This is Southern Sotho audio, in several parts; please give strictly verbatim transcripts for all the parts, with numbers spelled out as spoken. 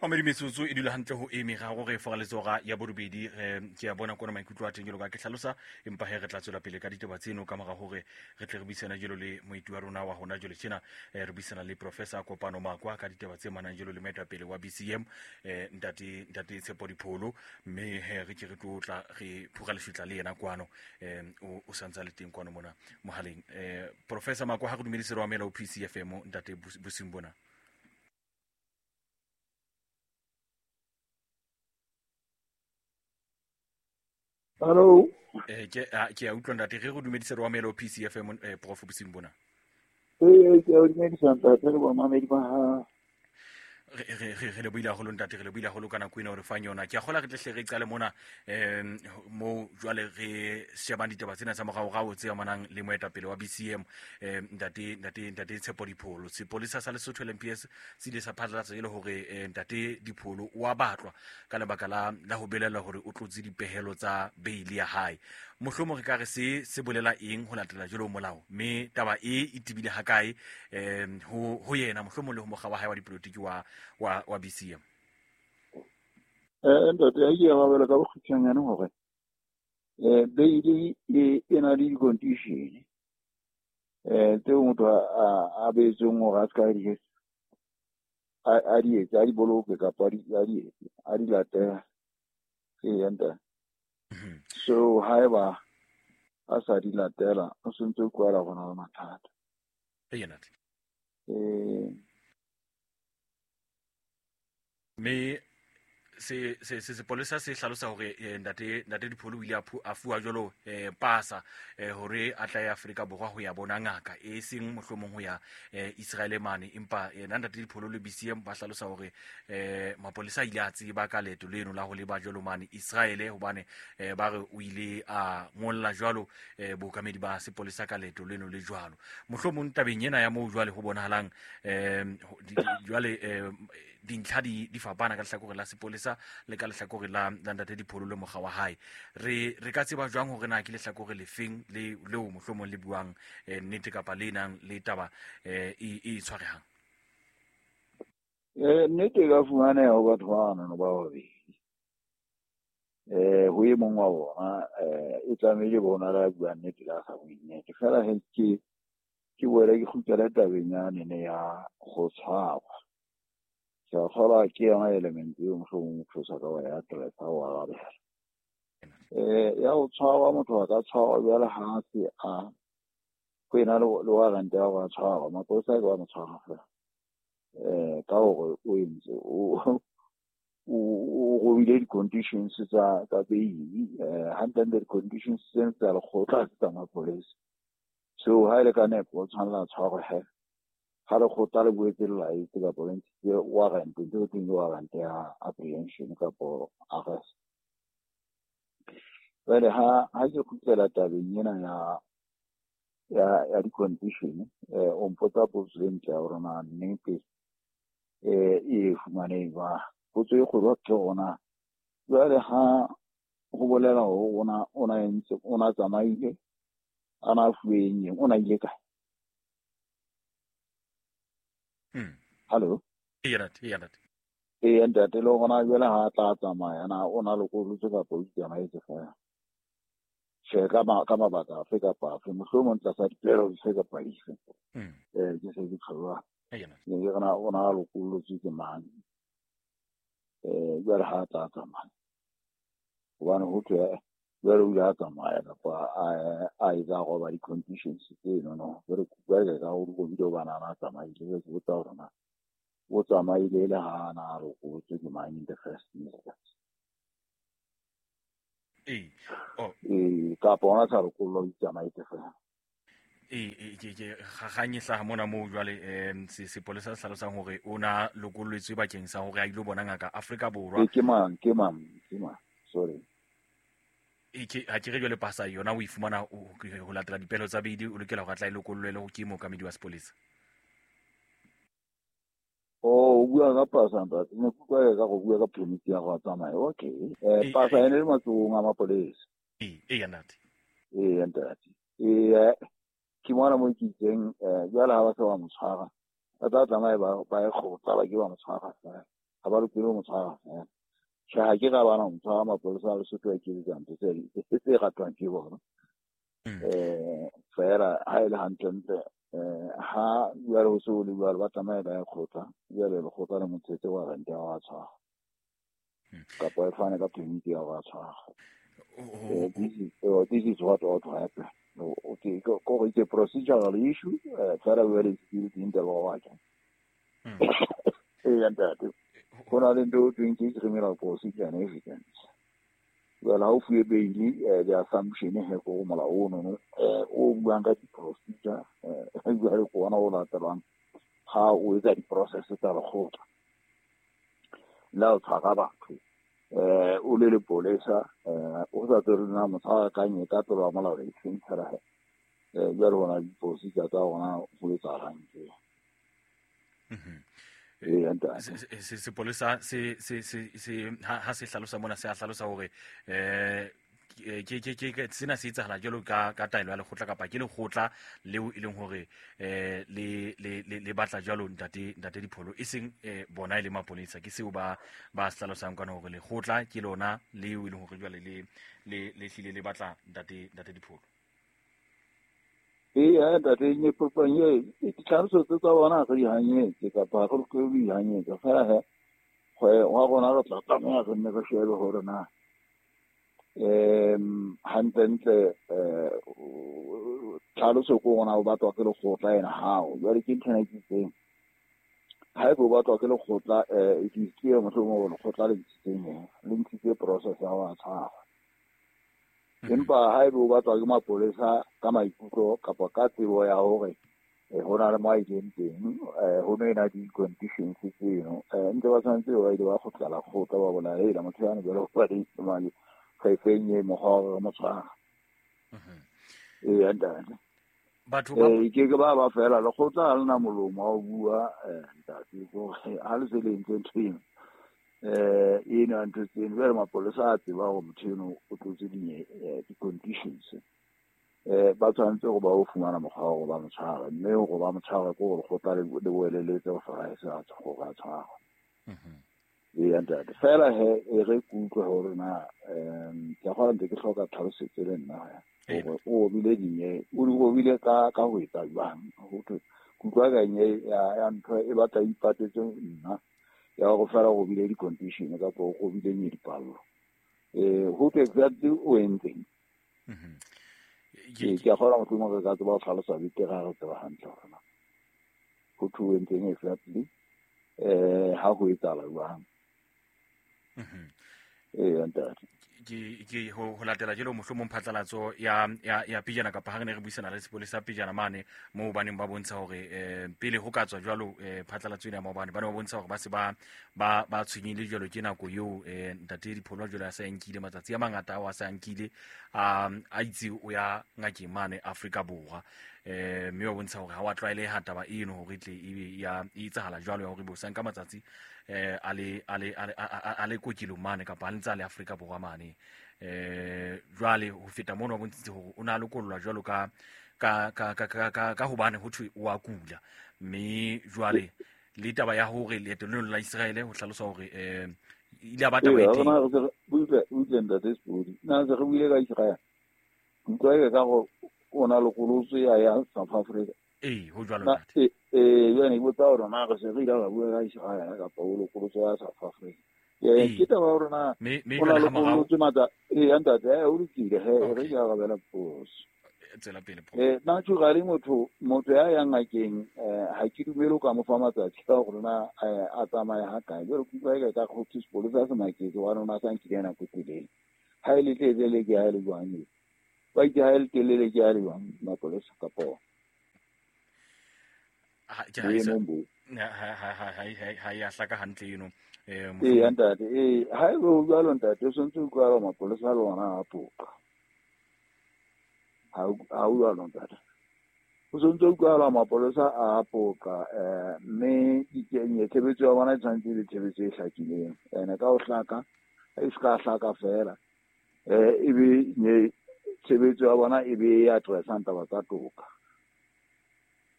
Mamedi metsotso e dula hantle ho e meraro re fora letsora ya borobedi. Re ke a bona kona maikutlo a teng jalo ka ke hlalosa, empa he re tla tswela pele ka ditaba tseno ka mora hore re tle re buisana jalo le moeti wa rona wa hona jwale tjena. Eh, re buisana le Professor Kopano Makwa ka ditaba tse manang jalo le moetapele wa B C M, eh, ntate ntate Tshepo Dipholo, mme he re ke re tlo tla re phura lefitla le yena kwano, eh, o, o santsa le teng kwano mona mohaleng. Eh, Professor Makwa, ha re dumedise re amela ho P C F M ntate bosing bona. Hello. Eh ke ke a utlwa ntate, re go dumedise re amela ho P C F M, eh, Prof bosing bona. Eh ke a dumedisa ntate le bamamedi ba ha. Re re re le buile haholo ntate, re le buile haholo ka nako ena hore fang yona. Ke a kgola re tle hle re qale mona, em mo jwale re shebang ditaba tsena tsa moraorao tse amanang le moetapele wa B C M, em ntate ntate ntate Tshepo Dipholo. Sepolesa sa Lesotho L M P S se ile sa phatlalatsa e le hore ntate Dipholo o a batlwa ka lebaka la la ho belaela hore o tlotse dipehelo tsa bail ya hae. Mohlomong re ka re se se bolela eng ho latela jwalo molao, mme taba e e tebile hakae em ho ho yena mohlomong le ho mokga wa hae wa dipolotiki wa wa wa B C M? Eh ntate, ha ke arabela ka bokgutshwanyane hore eh bail e e na le di-condition eh tseo motho a a beetsweng hore a ska di a di etse, a di boloke kapa a di a di etse, a di latela. Ee ntate. So haeba a sa di latela, o sentse o kwala gona le mathata. Ee ntate. Eh me se se se sepolesa se hlalosa hore ntate ntate Dipholo o ile a fuwa jwalo eh pasa hore a tla ya Afrika Borwa ho ya bona ngaka e seng mohlomong ho ya Israel mane, empa yena ntate Dipholo le B C M ba hlalosa hore eh mapolesa a ile a tseba ka leeto leno la ho leba jwalo mane Israel, hobane ba re o ile a ngolla jwalo bookamedi ba sepolesa ka leeto leno le jwalo. Mohlomong tabeng ena ya moo jwale ho bonahalang eh jwale dintlha di di fapana ka lehlakore la sepolesa le ka lehlakore la la ntate Dipholo le mokga wa hae. Re re ka tseba jwang hore na ke lehlakore lefeng le leo mohlomong le buang nnete kapa le nang le taba e e tshwarehang? Eh nnete e ka fumaneha ho batho bana ba babedi. Eh ho e mong wa bona eh e tlamehile bona la bua nnete la sa bue nnete. Fela he ke ke boela ke kgutlela tabeng yane ne ya go tshwarwa. Ke a kgolwa ke yona element eo mohlomong motho o sa ka wa ya address-a wa arabela. Eh ya ho tshwarwa, motho a ka tshwarwa jwale ha se a ho ena le le warrant ya hore a tshwarwa, mapolesa ke ba mo tshwara fela. Eh ka hore o entse o o robile di-conditions tsa tsa bail, eh hantle di-conditions tsena tsa lekgotla tsa mapolesa. So ha ile ka nepo o tshwanela tshwarwe he. Ha lekgotla le boetse le laetse kapa le ntshitse warrant, ntho e thweng ke warrant ya apprehension kapo arrest. Jwale ha ha ke kgutlela tabeng ena ya ya ya di-condition, eh o mpotsa potso e ntle ya hore na nnete eh e fumanehe jwang. Potso e kgolo ke hore na jwale ha ho bolela hore ona ona entse ona tsamaile a na fuwe eng, ona ile kae? Mm. Hello. Ee ntate, ee ntate. Ee ntate, le hona jwale ha tla tsamaya na o na lokollotse kapa o itsamaetse fela? Tjhe, ka ma ka mabaka afe kapa afe, mohlomong tlasa dipehelo dife kapa dife. Mm. Eh ke se ke tshwarwa. Ee ntate. Ne ke re na o na lokollotse ke mang? Eh jwale ha tla tsamaya. Hobane ho thwe jwale o ile a tsamaya kapa a a etsa roba di-conditions tseno no. Jwale ke utlwa ka hore o bile hobane a na tsamaile, ke botsa hore na o tsamaile le ha na lokollotse ke mang in the first instance. Ee. Oh. Ee, kapa ona sa lokollwa o itsamaetse fela. Ee, ke ke kgang e hlaha mona moo jwale em se sepolesa se hlalosang hore o na lokolletswe bakeng sa hore a ilo bona ngaka Afrika Borwa. Ke mang, ke mang, ke mang? Sorry. E ke ha ke re jwale pasa yona o e fumana ho latela dipehelo tsa bail, o lokela hore a tla e lokollwe le ho ke mookamedi wa sepolesa. Oh, o bua ka pasa ntate. Ne ke utlwa ka go bua ka permit ya go tsamaya. Okay. Eh pasa ene le matsohong a mapolesa. Ee, ee ntate. Ee ntate. Ee ke mona mo ke itseng eh jwale ha ba se ba mo tshwara. Ba tla tsamaya ba ba e kgotla ba ke ba mo tshwara fela. Ha ba lokele ho mo tshwara feela. Tjhe, ha ke ra bana ho mo tshwara, mapolesa a Lesotho a iketsetsa ntho tse tse ratwang ke bona. Eh fela ha e le hantlentle eh ha jwale ho se ho le jwalo, ba tlameha ba ye kgotla, jwale lekgotla le mo ntshetse warrant ya ho tshwara kapa e fane ka permit ya ho tshwara. This is uh, this is what ought to happen. Okay, ko it's a procedural issue. Fela jwale it's built in the law. Eh ntate, ho na le ntho e thweng ke criminal procedure and evidence. Well, ha o fuwe bail, the assumption he ko molao ono eh o buang ka di-procedure, eh jwale ke ona o latelang ha o etsa di-process tsa lekgotla. Le ha o tshwara batho eh o le lepolesa, eh o sa tsebe na motho a ka nye ka tlolo ya molao e seng fela he. Eh jwale hona di-procedure tsa ona ho etsahalang tje. Sepolesa se se se se ha se hlalosa mona, se a hlalosa hore eh ke ke ke sena se etsahala jwalo ka ka taelo ya lekgotla kapa ke lekgotla leo e leng hore eh le le le batla jwalo ntate ntate Dipholo, e seng bona e le mapolesa. Ke seo ba ba hlalosang kana hore lekgotla ke lona leo e leng hore jwale le le le hlile le batla ntate ntate Dipholo. Ee, ntate, nye popang ye ditlhaloso tse tsa bona re di hanyetse kapa re lokele ho di hanyetsa fela he wa rona re tla tlameha re nne re shebe hore na um hantlentle um tlhaloso ko rona o batlwa ke lekgotla ena hao. Jwale ke ntho ena ke itseng, haeba o batlwa ke lekgotla, um it is clear mohlomong hore lekgotla le ntshitseng le ntshitse process ya ho tshwara. Empa haeba o batlwa ke mapolesa ka maikutlo kapa ka tsebo ya hore ho na le mo a ileng teng, ho no ena di-conditions tseno, ntse ba tshwanetse ba ile ba kgutlela kgotla ba bona hela motho yane jwale ho ba le mane re feng e mokgwa wa hore re mo tshwara. Ee ntate, batho ba ke ke ba ba fela lekgotla ha lena molomo wa ho bua ntate, hore ha le se le entse ntho eno eh eno ya ntho tseno, jwale mapolesa a tseba hore motho eno o tlotse di-conditions, eh ba tshwanetse hore ba o fumana mokgwa wa hore ba mo tshware, mme hore ba mo tshware ke hore lekgotla le boeleletse ho fora se a hore a tshwarwe. Ee ntate, fela he e re ke utlwe hore na um ke a kgona ntse ke hloka tlhalosetso le nna hore o obile dinye, o di obile ka ka ho etsa jwang. Ho thwe ke utlwa ka nye ya ntho e batla ipatetse nna ya hore fela o bile di-condition kapa o bile nye dipallo. Eh ho thwe exactly o entseng. Ke a kgona mohlomong re ka tseba ho hlalosa betere ha re tseba hantle hore na ho thwe o entseng exactly, eh ha ho etsahala jwang. Ee ntate, ke ke ho latela jelo mohlomong phatlalatso ya ya ya pejana kapa ha re ne re buisana le sepolesa pejana mane moo ba neng ba bontsha hore eh pele ho ka tswa jwalo phatlalatso ena maobane, ba ne ba bontsha hore ba se ba ba ba tshwenyehile jwalo ke nako eo eh ntate Dipholo jwalo a sa nkile matsatsi a mangata ao a sa nkile a a itse o ya ngakeng mane Afrika Borwa, eh mme ba bontsha hore ha wa tlwaeleha taba eno hore tle ebe ya e etsahala jwalo ya hore bo sa nka matsatsi eh a le a le a le kokelong mane kapa a ntse a le Afrika Borwa mane. Eh jwale ho feta mono ba bontshitse hore o na lokollwa jwalo ka ka ka ka ka ka hobane ho thwe o a kula, mme jwale le taba ya hore leeto leno la Israel ho hlalosa hore eh ile ba taba e teng. Ee, butle butle ntate Sepodi, na se re buile ka Israel, utlwa ka go o na lokolotswe ya ya South Africa. Ee, ho jwalo ntate. Eh jwale ke botsa hore na re se re ile ra bua ka Israel kapa o lokolotswe ya South Africa. Ee, ke taba hore na o na lokolotswe matsa. Ee ntate, eh o lokile he, re ke arabela potso. Tswela pele. Eh naturally motho motho ya yang ngakeng eh ha ke dumele o ka mo fa matsatsi ka hore na a tsamaya ha kae. Jwale ke utlwa ka go thwe sepolesa se maketse wa rona sa nkile nako telele. Ha e le telele ke ha e le jwang? Ba itse ha e le telele ke ha e le jwang mapolesa kapa ha ke ha ha ha ha ha ya hlaka hantle eno. Eh ee ntate, ee ha e bo jwalo ntate, o tshwanetse o utlwa mapolesa le ona a poqa. Ha o jwalo ntate, o tshwanetse o utlwa mapolesa a poqa, eh mme dikenye tshebetso ya bona e tshwanetse e be tshebetso e hlakileng, ene ka ho hlaka e se ka hlaka fela, eh e be nye tshebetso ya bona e be e addressang taba tsa toka.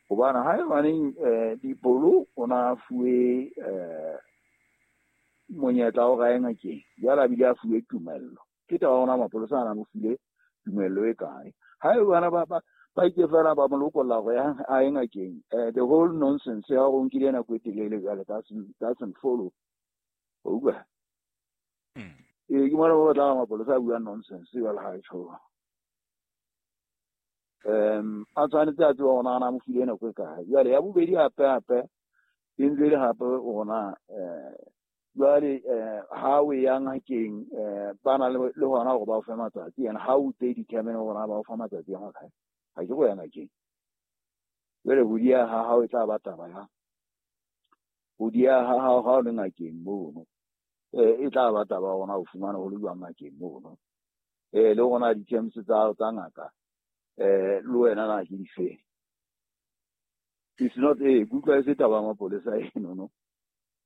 Hobane haebaneng eh Dipholo o na fuwe eh monyetla o ga ngakeng jwale a bile a fuwe tumello ke taba ona mapolesa a na mo file tumello e kae ha e bana ba ba ba itse fela ba mo lokolla go ya a ye ngakeng. The whole nonsense ya go nkile nako e telele jwale doesn't doesn't follow. O utlwa? Ee, ke mona ba batla mapolesa a bua nonsense jwale ha e tjho. Um a tshwanetse a tseba gona a mo file nako e kae. Jwale ya bobedi hape hape e ntse le hape gona um jwale ha o ya ngakeng ba na le hona hore ba o fe matsatsi, and how would they determine hore ba o fa matsatsi a makae? Ha ke go ya ngakeng. Jwale ho diya ha hao e tla ba taba ya ho diya ha hao ha o le ngakeng mono e tla ba taba gona o fumana ho le jwang ngakeng mono eh le gona di-terms tsa tsa ngaka eh le wena na ke dife. It's not e kutlwa e se taba ya mapolesa eno no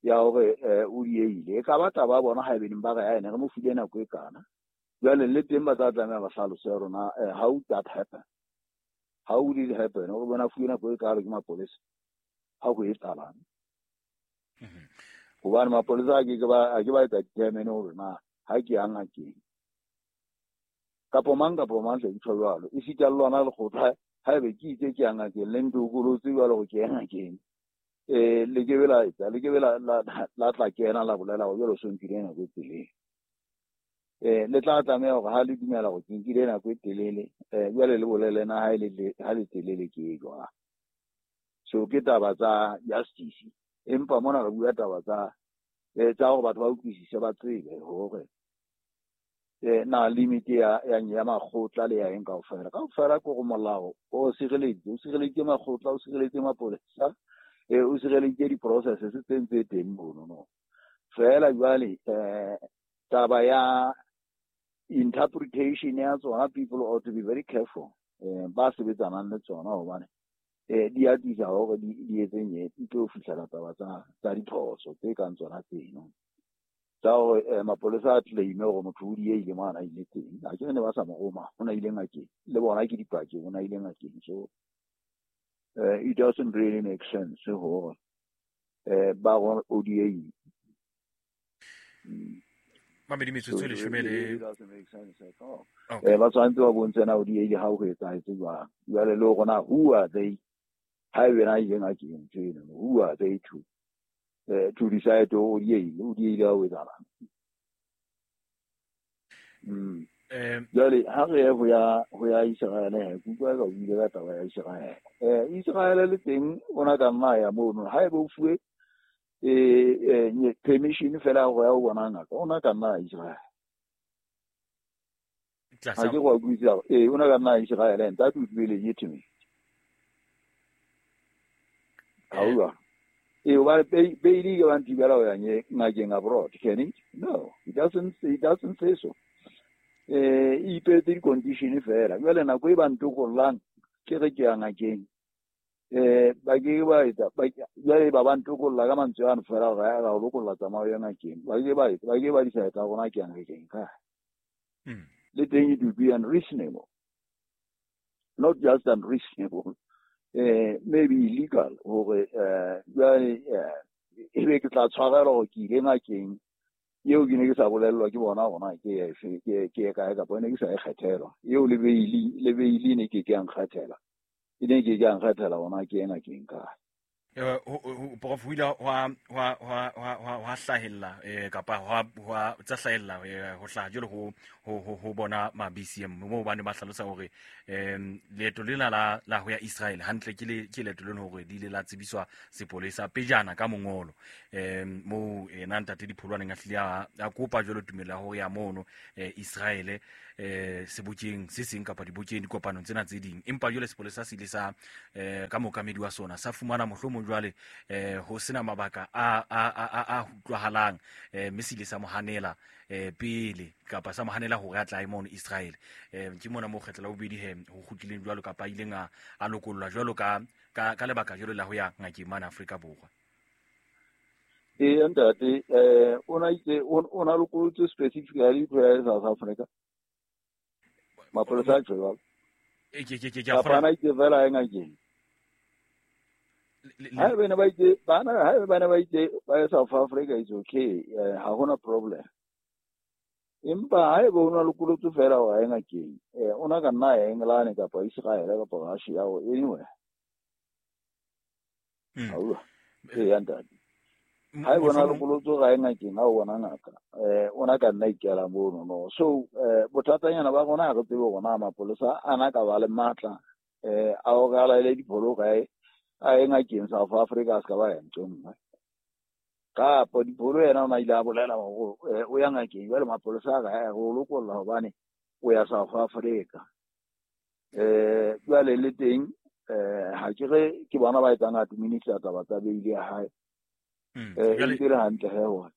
ya hore o dieile e ka ba taba bona ha e beneng ba re ene re mo file nako e kana. Jwale le teng ba tla tlameha ba hlalose rona how that happen, how did it happen hore bona fuwe nako e kalo ke mapolesa ha ho etsahalang. Hobane mapolesa a ke ke ba a ke ba etsa determine hore na ha ke ya ngakeng kapo mang kapo mang tle ntho jwalo e sita le lona lekgotla ha ebe ke itse ke ya ngakeng le ntokolotse jwalo hore ke ya ngakeng eh le ke be la etsa le ke be la la tla kena la bolela hore jwale o so nkile nako e telele. Eh le tla tlameha hore ha le dumela hore ke nkile nako e telele eh jwale le bolele na ha le ha le telele ke e jwang. So ke taba tsa justice, empa mona re bua taba tsa eh tsa hore batho ba utlwisise ba tsebe hore eh na limit ya ya ya makgotla le ya eng kaofela kaofela ke gore molao o sireleditse o sireleditse makgotla o sireleditse mapolesa eh o sireleditse di-processes tse ntse teng mono no. Fela jwale eh taba ya interpretation ya tsona people ought to be very careful eh ba sebetsanang le tsona hobane eh di atisa hore di di etseng di tlo fihlela taba tsa tsa diphoso tse kang tsona tseno tsa hore mapolesa a claim hore motho o dieile mo a ile teng a ke ne ba sa mo roma o na ile ngakeng le bona ke dipaki o na ile ngakeng. So uh, it doesn't really make sense hore eh ba go o dieile mamedi metsotso e leshome le eh ba tshwanetse ba bontshe na o dieile ha o etsahetse jwang. Jwale le rona who are they ha ebe na ile ngakeng ntho eno who are they to eh to decide o dieile o dieile ha o etsahalang. Mm jwale ha re ye ho ya ho ya Israel ke utlwa ka o ile ka taba ya Israel eh Israel le teng ona ka nna ya mono ha ebe o fuwe eh eh permission fela go ya o bona ngaka ona ka nna Israel ha ke go utlwisisa eh ona ka nna Israel and that would be legitimate. Ha eh wa baili ke ba ntibela ho ya ngakeng abroad can it? No, it doesn't it doesn't say so. Eh e ipetse di-condition fela jwale nako e ba ntokollang ke re ke ya ngakeng eh ba ke ba etsa jwale ba ba ntokolla ka mantswe ano fela gore ya ga o lokolla tsamao ya ngakeng ba ke ba etsa ba ke ba decide rona ke ya ngakeng ka le teng it will be unreasonable, not just unreasonable, eh maybe illegal hore eh jwale e be ke tla tshwarelwa hore ke ile ngakeng eo ke ne ke sa bolellwa ke bona gona ke efe ke ke kae kapa ne ke sa e kgethelwa eo le beili le beili ne ke ke ya nkgethela e ne ke ke ya nkgethela gona ke ena ke nka prof ho ile hwa hwa hwa hwa hwa hlahella eh kapa hwa hwa tsa hlahella ho hlaha jwalo ho ho ho bona ma B C M mo bane ba hlalosa hore em leeto lena la la ho ya Israel hantle ke le ke leeto lena hore di ile la tsebiswa sepolesa pejana ka mongolo em mo ena ntate Dipholwaneng a hlile a kopa jwalo tumelo ya hore ya mono Israel eh sebokeng se seng kapa dibokeng dikopanong tsena tse ding empa jwale sepolesa se ile sa eh ka mokamedi wa sona sa fumana mohlomong jwale eh ho sena mabaka a a a a utlwahalang eh mme se ile sa mohanela eh pele kapa sa mohanela hore a tla mono Israel eh ke mona mo kgetla la bobedi he ho kgutlileng jwalo kapa ileng a a lokollwa jwalo ka ka ka lebaka jwalo la ho ya ngakeng mane Afrika Borwa. Eh ntate eh ona itse ona lokollotse specifically ho ya South Africa mapolesa a jwalo e ke ke ke ke a kgona itse fela e ngakeng Haebe ne ba itse bana haebe bana ba itse ba ya South Africa is okay, ha hona problem. Empa haebe o na lokolotse fela wa ya ngakeng, eh o na ka nna ya England kapa Israel kapa Russia or anywhere. Mm. Aua. E ya ntate. Haebe o na lokolotse ga ya ngakeng ha o bona ngaka, eh o na ka nna ikela mono no. So eh bothatanyana ba rona ha re tsebe hore na mapolesa a na ka ba le matla eh a o ga laele dipholo kae a ye ngakeng South Africa a se ka ba ya ntho e nngwe. Kapa Dipholo yena o na ile a bolela hore o ya ngakeng jwale mapolesa a ka ya go lokolla hobane o ya South Africa. Eh jwale le teng eh ha ke re ke bona ba etsang administer taba tsa bail ya hae. Eh e ntse le hantle he hore.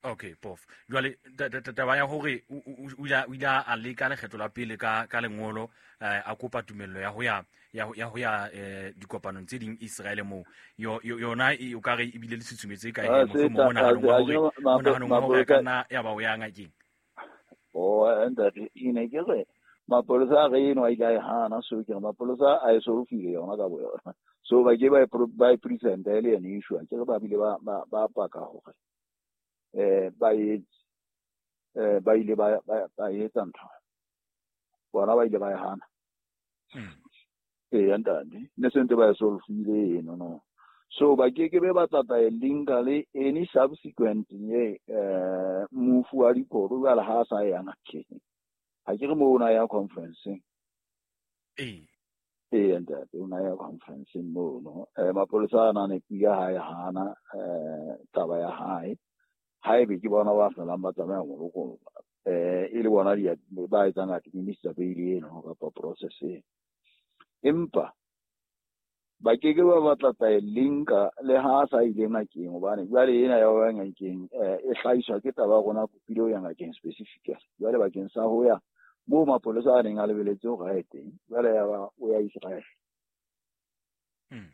Okay, Prof. Jwale taba ya hore o ile o ile a leka lekgetlo la pele ka ka lengolo a kopa tumello ya ho ya ya ho ya dikopanong tse ding Israel mo yona e o ka re ebile le tshutshumetse ka e mohlomong monahanong wa hore monahanong wa hore ka nna ya ba o ya ngakeng. Oh, ntate ine ke re mapolesa a re eno a ile a e hana, so ke re mapolesa a e solofile yona ka boyona. So ba ke ba ba e present e le ene issue, ke re ba bile ba ba paka hore eh ba e eh ba ile ba ba etsa ntho bona ba ile ba e hana. E ntate ne sentse ba e solofile eno no. So ba ke ke be ba tla e linka le any subsequent ye eh move wa Dipholo jwale ha sa ya ngakeng. Ha ke re mo ona ya conference. Eh e ntate o na ya conference mo no. Eh mapolesa a na ne pia ha e hana eh taba ya hae. Haebe ke bona ba felang ba tsamaya mo lokolla eh e le bona di ba etsang administer bail eno kapa process e. Empa ba ke ke ba batla tla e linka le ha sa ile ngakeng hobane jwale ena ya ba ngakeng e hlahiswa ke taba ya rona kopile ho ya ngakeng specifically. Jwale bakeng sa ho ya moo mapolesa a neng a lebeletse hore a ye teng, jwale ya ba o ya Israel. Mm.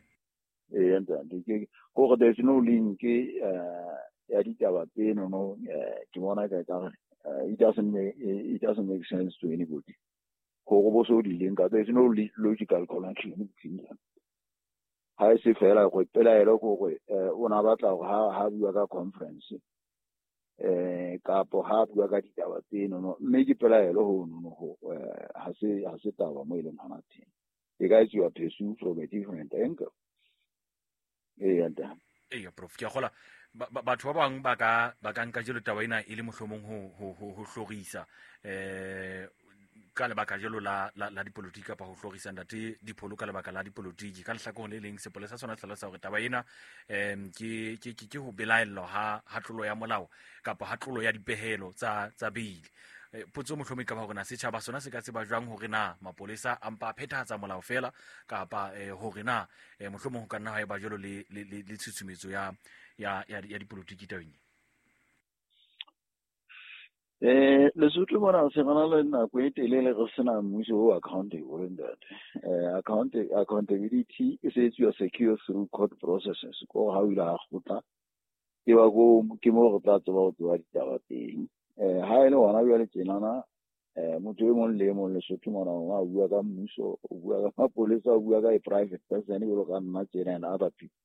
E ntate ke hore there's no link eh ya ditaba tseno no, ke bona ka ka it doesn't make it doesn't make sense to anybody. Hore bo so di linka, there's no logical connection between them. Ha e se fela go pelaelo gore o na batla hore ha ha bua ka conference eh kapo ha bua ka ditaba tseno no, mme ke pelaelo ho no ho ha se ha se taba mo e leng hona teng. E ka etsuwa pursue from a different angle. E ntate. Eya Prof, ke a kgola batho ba bang ba ka ba ka nka jelo taba ena e le mohlomong ho ho ho hlorisa eh ka lebaka jelo la la dipolotiki kapa ho hlorisa ntate Dipholo ka lebaka la dipolotiki. Ka lehlakoreng le leng sepolesa sona hlalosa hore taba ena em ke ke ke ho belaellwa ha ha tlolo ya molao kapa ha tlolo ya dipehelo tsa tsa bail. Potso mohlomong ka ba hore na setjhaba sona se ka tseba jwang hore na mapolesa a mpa a phethahatsa molao fela kapa hore na mohlomong ho ka nna ha eba jwalo le le le tshusumetso ya ya ya dipolotiki tabeng. Eh Lesotho mona se rena le nako e telele re sena mmuso o accountable ntate. Eh account accountability e se etsuwa secure through court processes. Ko ha o ile ha kgotla ke ba go ke mo re tla tseba ho tseba ditaba teng. Eh ha ele hona jwale tjenana eh motho e mong le e mong Lesotho mona o bua ka mmuso, o bua ka mapolesa, o bua ka a private person jwalo ka nna tjena and other people.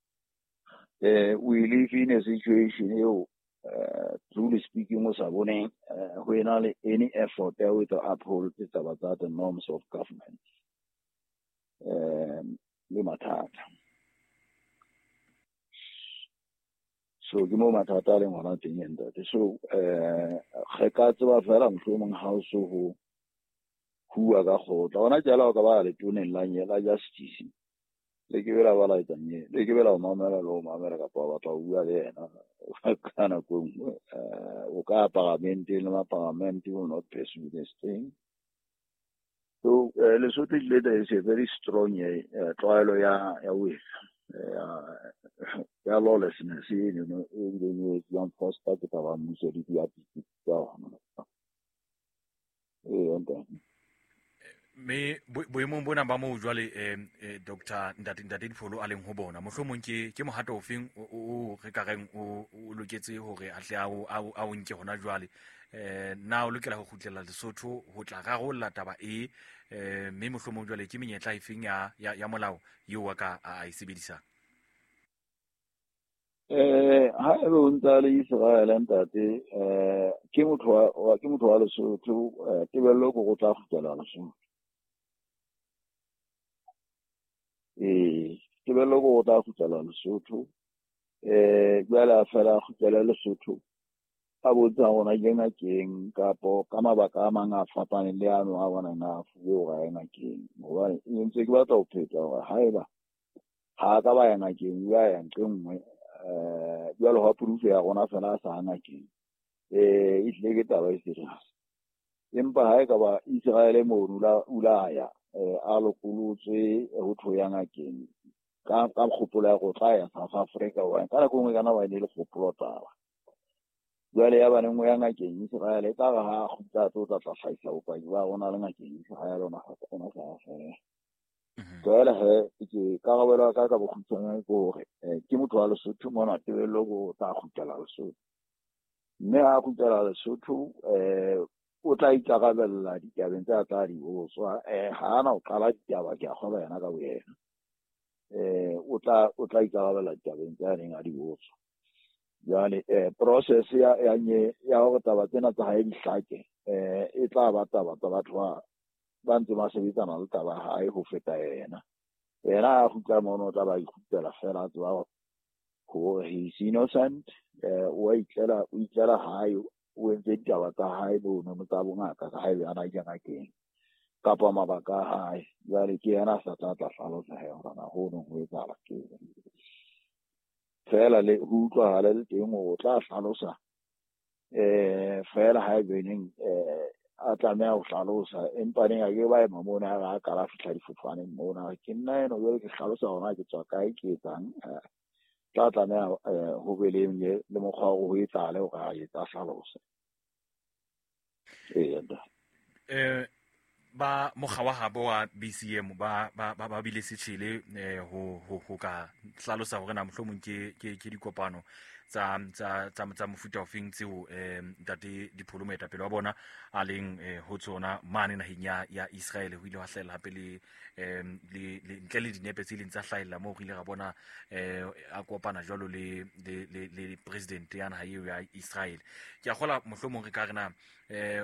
Eh we live in a situation eo uh, truly speaking o sa boneng ho ena le any effort ya ho uphold taba tsa the norms of government. Um le mathata. So ke mo mathata a leng hona teng ntate. So eh re ka tseba fela mohlomong ha o so ho hua ka kgotla. Hona jwale o ka ba letoneng la la justice. Le ke bela ba la etsang ye, le ke bela o mamela le o mamela kapa ba batla ho bua le yena ka nako e nngwe. O ka parliamenteng le ma-parliament will not pursue this thing. So Lesotho later is a very strong tlwaelo ya ya ho ya ya lawlessness eno e bileng e etsuwang foster ke taba mmuso le diapiki tsa hona. Ee ntate. Me boemong bona ba moo jwale eh, eh Doctor Ntate Ntate Dipholo a leng ho bona, mohlomong ke ke mohato ofeng o re ka reng o o loketse hore a tle a o a o nke hona jwale? Eh na o lokela ho kgutlela Lesotho ho tla rarolla taba e eh mme mohlomong jwale ke menyetla efeng ya ya, ya molao eo a ka a e sebedisang? Eh ha ebe o ntse a le Israel ntate, eh ke motho wa ke motho wa Lesotho, eh tebello ke go tla kgutlela Lesotho. Eh tebello ke go tla kgutlela Lesotho. Eh jwale a fela kgutlela Lesotho a botsa hore ke ngakeng kapo ka mabaka a mang a fapaneng le ano a bonang a fuwe hore a ye ngakeng. Hobane ntse ke batla ho pheta hore haeba ha ka ba ya ngakeng, o ya ya nqe nngwe, eh jwalo ha proof ya rona fela a sa ngakeng, eh e tlile ke taba e serious. Empa ha e ka ba Israel mono la ula ya eh a lokolotswe ho tho ya ngakeng ka ka kgopolo ya go tla ya South Africa, hobane ka nako e nngwe kana ba ne le kgopolo taba. Jwale ya ba nngwe ya ngakeng Israel e tla re ha kgutla tlo tla tla hlahisa bopaki ba rona le ngakeng Israel ona ona sa fela. Jwale he ke karabelo ka ka bokgutshwane ke hore ke motho wa Lesotho mona, tebello ko tla kgutlela Lesotho. Mme ha kgutlela Lesotho eh o tla ikarabella ditabeng tsa tla di botswa, eh ha ana o qala ditaba ke a kgolwa yena ka boyena. Eh o tla o tla ikarabella ditabeng tsa neng a di botswa. Jwale eh process ya ya nye ya hore taba tsena tsa hae di hlake, eh e tla ba taba tsa batho ba ba ntse ba sebetsana le taba hae ho feta yena. Yena a kgutla mono o tla ba ikgutlela fela a tseba hore he is innocent, eh o a itlela o itlela hae, o entse ditaba tsa hae mono tsa bongaka ka haebe a na ke ngakeng kapa mabaka a hae. Jwale ke yena a sa tla tla hlalosa he hore na ho no ho etsahala ke fela le ho utlwahale le teng hore o tla hlalosa eh fela haebe neng eh a tlameha ho hlalosa, empa neng a ke ba ema mona ha a kala fihla difofaneng mona, ke nna eno jwale ke hlalosa hore na ke tswa kae ke etsang. Tla tlameha ho be le le mokgwa wa ho etsahale hore a etsa hlalosa. Ee eh ba mokga wa habo wa B C M ba ba ba bile setjhele eh ho ho ho ka hlalosa hore na mohlomong ke ke ke dikopano tsa tsa tsa tsa mofuta ofeng tseo eh Ntate Dipholo moetapele wa bona a leng ho tsona mane naheng ya ya Israel. Ho ile ha hlahella hape le eh le ntle le dinepe tse leng tsa hlahella moo re ile ra bona eh a kopana jwalo le le le le president ya naha eo ya Israel. Ke a kgola mohlomong re ka re na eh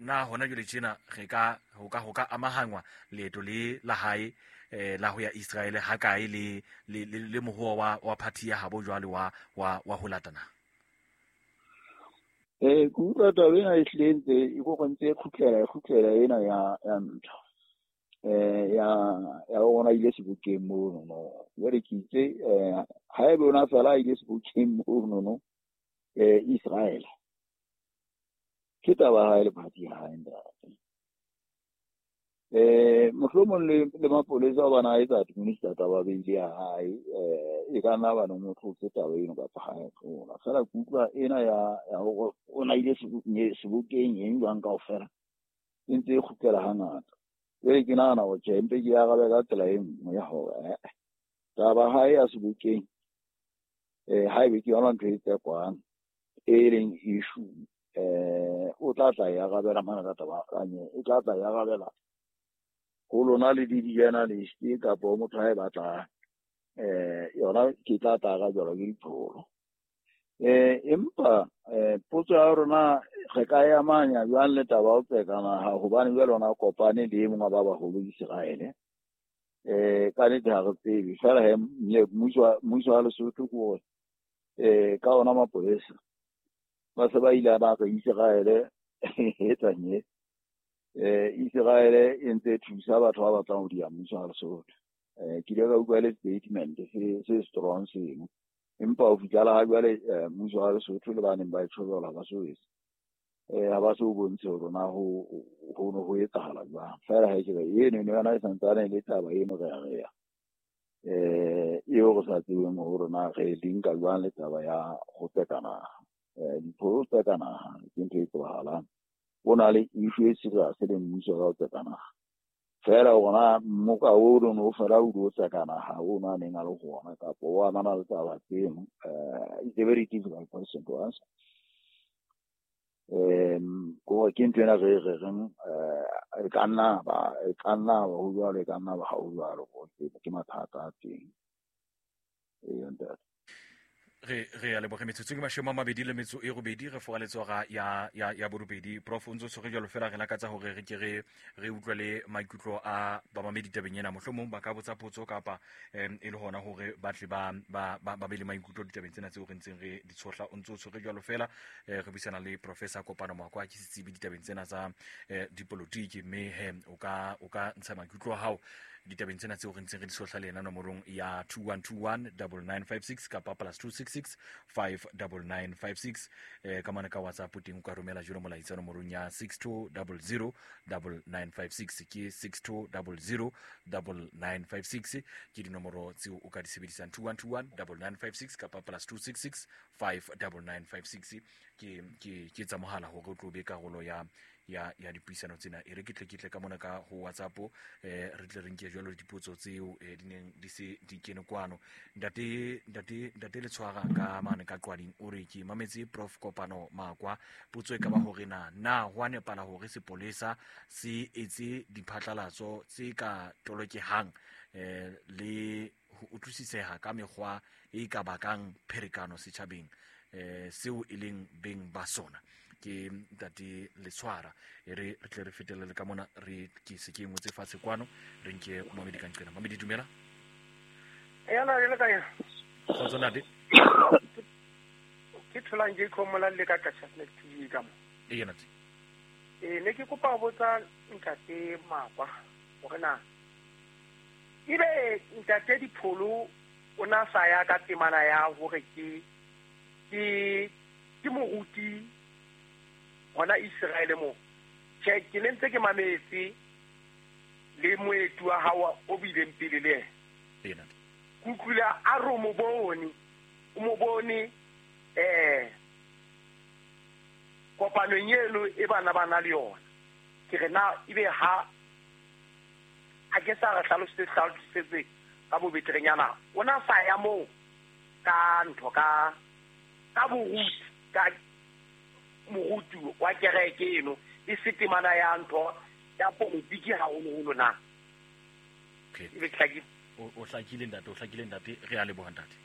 na hona jwale tjena re ka ho ka ho ka amahangwa leeto le la hae eh la ho ya Israel ha kae le le le mohoa wa wa party ya habo jwale wa wa wa ho latana? Eh ke utlwa taba ena e hlile ntse e go ntse e kgutlela e kgutlela ena ya ya ntho eh ya ya ona ile sebokeng mono no. Jwale ke itse eh ha ebe ona fela ile sebokeng mono no eh Israel ke taba ha ile party ya hae ntate. Eh mohlomong le le mapolesa ba na etsa administer taba beile ya hae, eh e ka nna ba no motho tse taba eno kapa ha e tlola fela. Ke utlwa ena ya ya hore o na ile sebokeng eng jwang kaofela e ntse e kgutlela hangata. Jwale ke nahana hore tjhe mpe ke arabe ka tsela e nngwe ya hore taba hae ya sebokeng eh haebe ke yona ntho e tsekwang e leng issue, eh o tla tla e arabela mana ka taba e tla tla e arabela ho lona le di-journalist kapa motho ha e batlang eh yona ke tla tla arabelwa ke Dipholo. Eh empa eh potso ya rona re ka e amanya jwang le taba o tseka naha, hobane jwale ona kopane le e mongwe ba baholo Israel eh ka nnete ha re tsebe fela he mmuso mmuso wa Lesotho ke hore eh ka ona mapolesa ba se ba ile ba re Israel etsang e eh Israel e ntse thusa batho ba batlang ho dia mmuso wa Lesotho. Eh ke ile ka utlwa le statement se se strong seno, empa ho fihlela ha jwale mmuso wa Lesotho le ba neng ba e tshola ba so etse eh ha ba so bontshe hore na ho ho no ho etsahala jwang. Fela ha ke re eno eno yona e santsane le taba eno re ya re ya eh eo re sa tsebeng hore na re linka jwang le taba ya ho tseka naha. Eh Dipholo tseka naha ke ntho e tsebahalang, o na le issue e serious le mmuso ka ho tseka naha. Fela hore na moka o no fela o do tsakana ha o na neng a le gona kapa o amana le taba tseno, uh, it's a very difficult question to answer. Um ko ke ntho ena re re reng eh e ka nna ba e ka nna ba ho jwalo, e ka nna ba ha ho jwalo, ke mathata a teng. Ee, ntate. Re re a leboge. Metsotso ke mashome a mabedi le metso e robedi, re foga letsoga ya ya ya borobedi. Prof, o ntse o tshwere jalo fela, re lakatsa hore re ke re re utlwe le maikutlo a bamamedi tabeng ena. Mohlomong ba ka botsa potso kapa um e le hona hore ba tle ba ba ba be le maikutlo ditabeng tsena tseo re ntseng re di tshohla. O ntse o tshwere jalo fela, re buisana le Professor Kopano Makwa, ke setsebi ditabeng tsena tsa dipolotiki, mme he o ka o ka ntsha maikutlo a hao ditabeng tsena tseo re ntseng re di tshohla le yena nomorong ya two one two one double nine five six kapa plus two six six five double nine five six. Eh ka mane ka WhatsApp teng o ka romela jalo molaetsa nomorong ya six two double zero double nine five six, ke six two double zero double nine five six, ke dinomoro tseo o ka di sebedisang two one two one double nine five six kapa plus two six six five double nine five six, ke ke ke tsa mohala hore o tlo be karolo ya ya ya dipuisano tsena. E re ke tle ke tle ka mona ka ho WhatsApp, eh re tle re nke jalo dipotso tseo eh di neng di se di kene kwano. Ntate ntate ntate Letshwara ka mane ka Qwading o re ke mametse Prof Kopano Makwa, potso e ka ba hore na na ho a nepala hore sepolesa se etse diphatlalatso tse ka tolokehang eh le ho utlwisiseha ka mekgwa e ka bakang pherekano setjhabeng, eh seo e leng beng ba sona. Ke ntate Letshwara. E re re tle re fetelele ka mona, re ke se ke ngotse fatshe kwano, re nke Mamedi ka nqena. Mamedi, dumela. Yana re le kae? Kgotso ntate. Ke tholang ke khomola le ka Kashanet T V ka mo. Ee ntate. Eh ne ke kopa ho botsa ntate Makwa hore na ebe ntate Dipholo o na sa ya ka temana ya hore ke ke ke moruti hona Israel mo. Che ke ne ntse ke mametse le moetu wa hao o bileng pele le ena. Kutlwile a re mo bone, o mo bone eh kopanong eno e bana bana le yona. Ke re na ebe ha a ke sa re hlalosetse hlalosetse ka bobeterenyana, o na sa ya moo ka ntho ka ka boruti ka moruti wa kereke eno e se temana ya ntho ya politiki haholoholo na. Okay. Ebe hlakile. O hlakile ntate, o hlakile ntate, re a leboha ntate.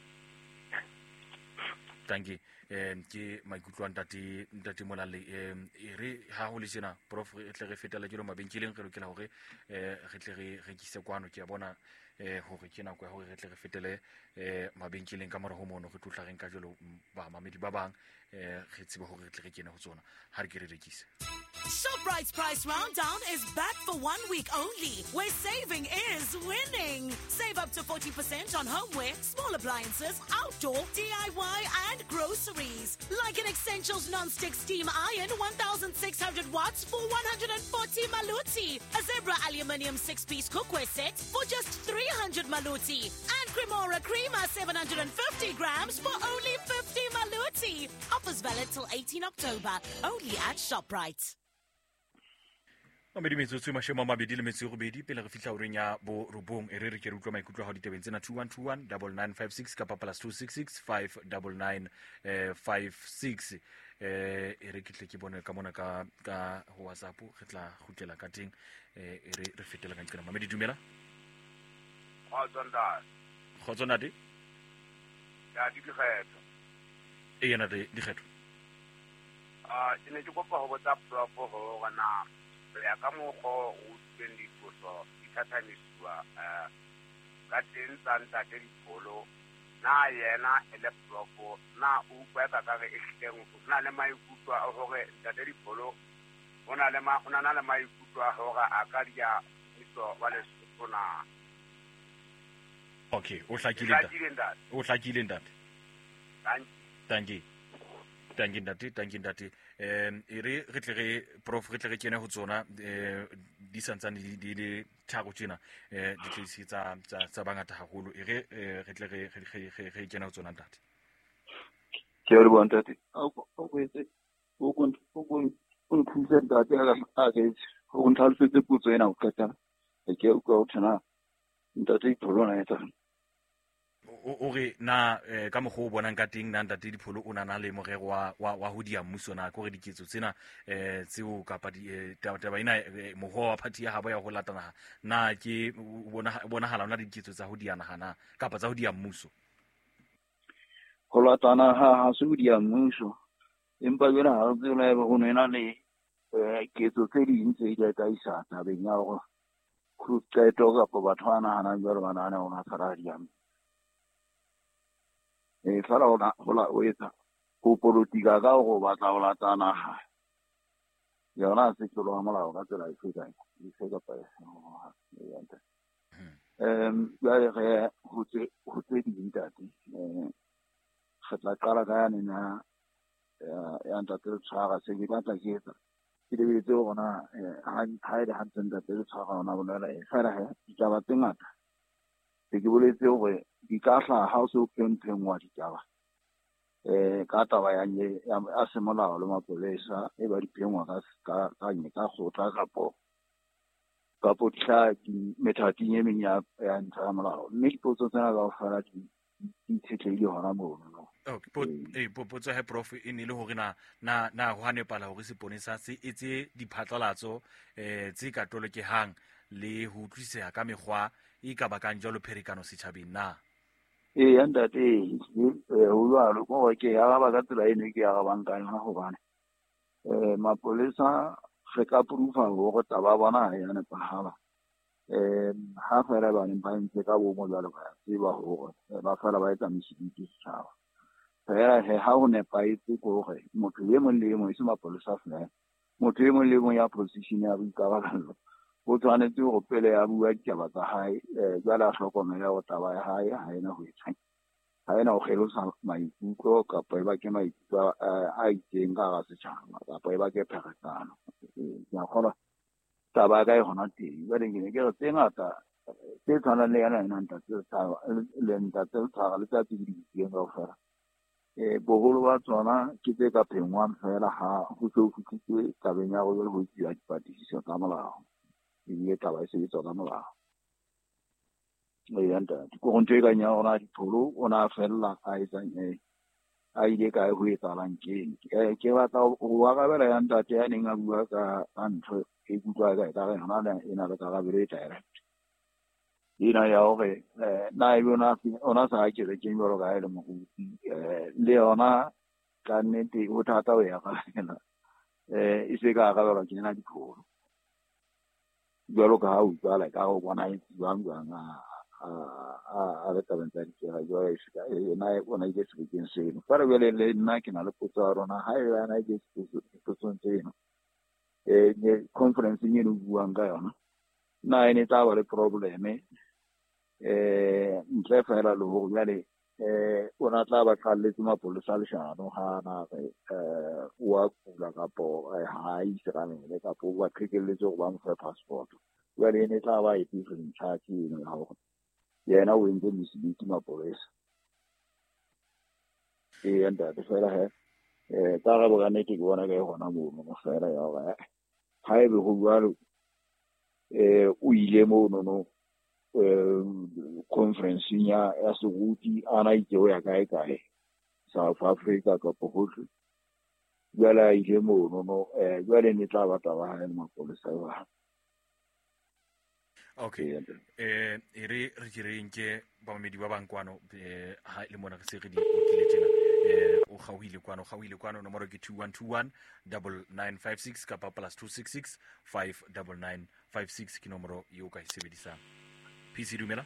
Thank you. Eh ke maikutlo a ntate ntate Molale. Eh e re ha ho le tjena Prof re tle re fetela jalo mabenkeleng, re lokela hore eh re tle re rekise kwano. Ke a bona eh hore ke nako ya hore re tle re fetele eh mabenkeleng ka mora ho mono, re tlotla reng ka jalo ba mamedi ba bang, eh re tsebe hore re tle re kene ho tsona ha re ke re rekise. ShopRite's Price Rounddown is back for one week only, where saving is winning. Save up to forty percent on homeware, small appliances, outdoor, D I Y, and groceries. Like an Essentials non-stick steam iron, one thousand six hundred watts for one hundred forty maluti. A Zebra aluminium six-piece cookware set for just three hundred maluti. And Cremora Creamer seven hundred fifty grams for only fifty maluti. Offers valid till eighteenth October, only at ShopRite. Mamedi metsotso e mashome a mabedi le metso e robedi pele re fihla horeng ya borobong. E re re ke re utlwa maikutlo a hao ditabeng tsena two one two one double nine five six kapa plus two six six five double nine five six. Eh e re ke tle ke bone ka mona ka ka ho WhatsApp, re tla kgutlela ka teng. Eh e re re fetela ka nqena. Mamedi, dumela. Kgotso ntate. Kgotso ntate. Ya dikgetho. E yena de dikgetho. Ah, ke ne ke kopa ho botsa Prof hore na ya ka mokgwa o utlwileng dipotso di thathamisiwa um ka teng tsa ntate Dipholo, na yena e le Prof na o utlwa ka ka re e hlileng o na le maikutlo a hore ntate Dipholo o na le ma o na le maikutlo a hore a ka dia mmuso wa Lesotho na? Okay, o hlakile ntate. O hlakile ntate. Thank you. Thank you ntate, thank you ntate. Um e re re tle re Prof re tle re kene ho tsona eh di santsane di le tharo tjena eh di tlise tsa tsa tsa bangata haholo. E re re tle re re re kene ho tsona ntate. Ke re bona ntate. O o etse o go o nthuse ntate a ke o ntlhalosetse potso ena ho qetela. Ke utlwa ho thwe na ntate Dipholo na etsang. O re na ka mokgwa o bonang ka teng na ntate Dipholo o na na le morero wa wa ho dia mmuso na kore diketso tsena eh tseo kapa taba ena mokgwa wa party ya habo ya ho lata naha na ke bonahala ona diketso tsa ho dia naha na kapa tsa ho dia mmuso? Ho lata naha ha se ho dia mmuso, empa jwale ha re tsebe haeba ho na le ketso tse ding tse di ka isa tabeng ya hore qeto kapa batho ba nahanang jwalo ba nahana hore ha sa dia. E fela ho la o etsa ho politika ka hore o batla ho lata naha yona se tlolo ya molao ka tsela efe kae efe kapa efe. Um jwale re ho tse ho tse ding ntate, um re tla qala ka yane na ya ntate Letshwara. Se ke batla ke etsa ke lebeletse hore na ha e le hantle ntate Letshwara ona bolela e fela he ditaba tse ngata se ke boletse hore di ka hlaha ha o se o phengphengwa ditaba eh ka taba ya ya semolao le mapolesa e ba di phengwa ka ka ka ka kgotla kapo kapo tla di methating e meng ya ya ntlha ya molao, mme dipotso tsena kaofela di di itshetlehile hona mono. Okay, po eh potso he prof e ne le hore na na na ho nepala hore seponesa se etse diphatlalatso eh tse ka tolokehang le ho utlwiseha ka mekgwa e ka bakang jwalo pherekano setjhabeng na? Ee ntate, ho jwalo ko ke araba ka tsela eno ke arabang ka yona hobane um mapolesa re ka proofa hore taba ya bona ha ya nepahala. Um ha fela ba neng ba entse ka bomo jwalo ba tseba hore ba fela ba etsa mesebetsi setjhaba. Fela he ha ho nepahetse ke hore motho e mong le e mong e se mapolesa fela, motho e mong le e mong ya position ya boikarabelo o tshwanetse hore pele a bua ditaba tsa hae jwale a hlokomele hore taba ya hae ha ena ho etsang, ha ena ho kgelosa maikutlo kapa e bake maikutlo a itseng ka hara setjhaba kapa e bake pherekano. Ke a kgolwa taba ya ka e hona teng. Jwale ke ne ke re tse ngata tse tshwanang le yona ena ntate le ntate Letshwara le tsa tse di buileng kaofela, um boholo ba tsona ke tse ka phengwang fela ha ho se ho fihlitswe tabeng ya hore ho etsuwa dipatlisiso tsa molao ebile taba e sebetswa ka molao. Ee ntate, ke hore ntho e kang ya rona Dipholo o na fella a etsang a ile kae ho etsahalang keng. Ke batla ho arabela ya ntate ya neng a bua ka ntho e kutlwa ka ekare yona e na le karabelo e direct ena ya hore na ebe ona sa kerekeng jwalo ka ha e le moruti, le yona ka nnete ho thata ho e arabela, e se ka arabelwa ke ena Dipholo jwalo ka ha utlwala ka ho bona e jwang jwang a a le tabeng tsa dikera jwale ena ona ile sebokeng seno. Fela jwale le nna ke na le potso ya rona ha eba ena ile dipotsong tseno um conference-eng eno buang ka yona na e ne tla ba le probleme um ntle fela le hore jwale um o na tla ba qalletse mapolesa leshano ha na re um o a kula kapo ha a itekanele kapo o ba qhekelletse hore ba mo fe passport. Jwale e ne tla ba e different charge eno ya hore yena o entse mesebetsi mapolesa. Ee ntate, fela he um karabo ka nnete ke bona ka e hona mono fela ya hore ha ebe ho jwalo um o ile monono um conference-eng ya ya seruti a na itse ho ya kae kae South Africa kapa hohle, jwale a ile monono um jwale ne tla ba taba hae le mapolesa jwang. Okay, eh e re re ke re nke bamamedi ba bang kwano eh ha le mona re se re di okile tjena eh o kgaohile kwano kgaohile kwano nomoro ke two one two one nine nine five six kapa plus two six six five nine nine five six ke nomoro eo ka e sebedisang. P C dumela.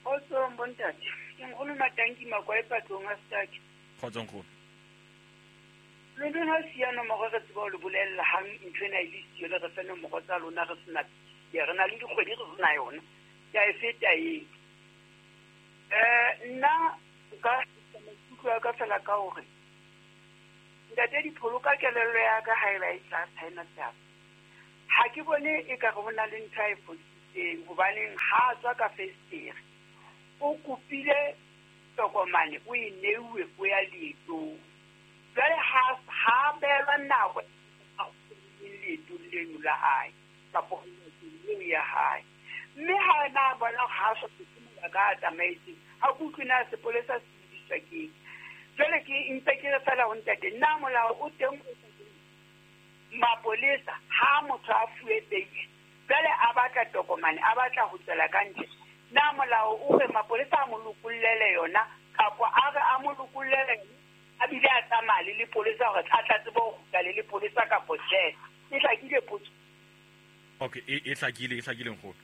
Kgotsong bontate, ke nkgono Matanki Makwae patlong a Staki. Kgotsong nkgono. Le lona siya nomoro re tseba ho le bolella hang ntho ena e le siyo le re fe nomoro tsa lona re sena ya re na le dikgwedi re sena yona ke a e feta eo. Um nna nka maikutlo a ka fela ka hore ntate Dipholo ka kelello ya ka ha eba e tlase ha ena taba, ha ke bone e ka re ho na le ntho a e fositseng hobaneng ha a tswa ka festere o kopile tokomane o e neuwe o ya leetong. Jwale ha ha beelwa nako a leetong leno la hae kapa eo ya hae. Mme ha na bona ha sa se ka tsamaetse ha kutlwe na sepolesa se bidiswa ke. Jwale ke ntse ke re fela ho ntate nna molao o teng o mapolesa ha motho a fuwe bail jwale a batla tokomane a batla ho tswela ka ntle na molao o re mapolesa a mo lokollele yona kapa a re a mo lokollele a bile a tsamaya le lepolesa hore a tla tsebe ho kgutla le lepolesa kapo tjhe. E hlakile potso. Okay, e e hlakile e hlakile nkgono.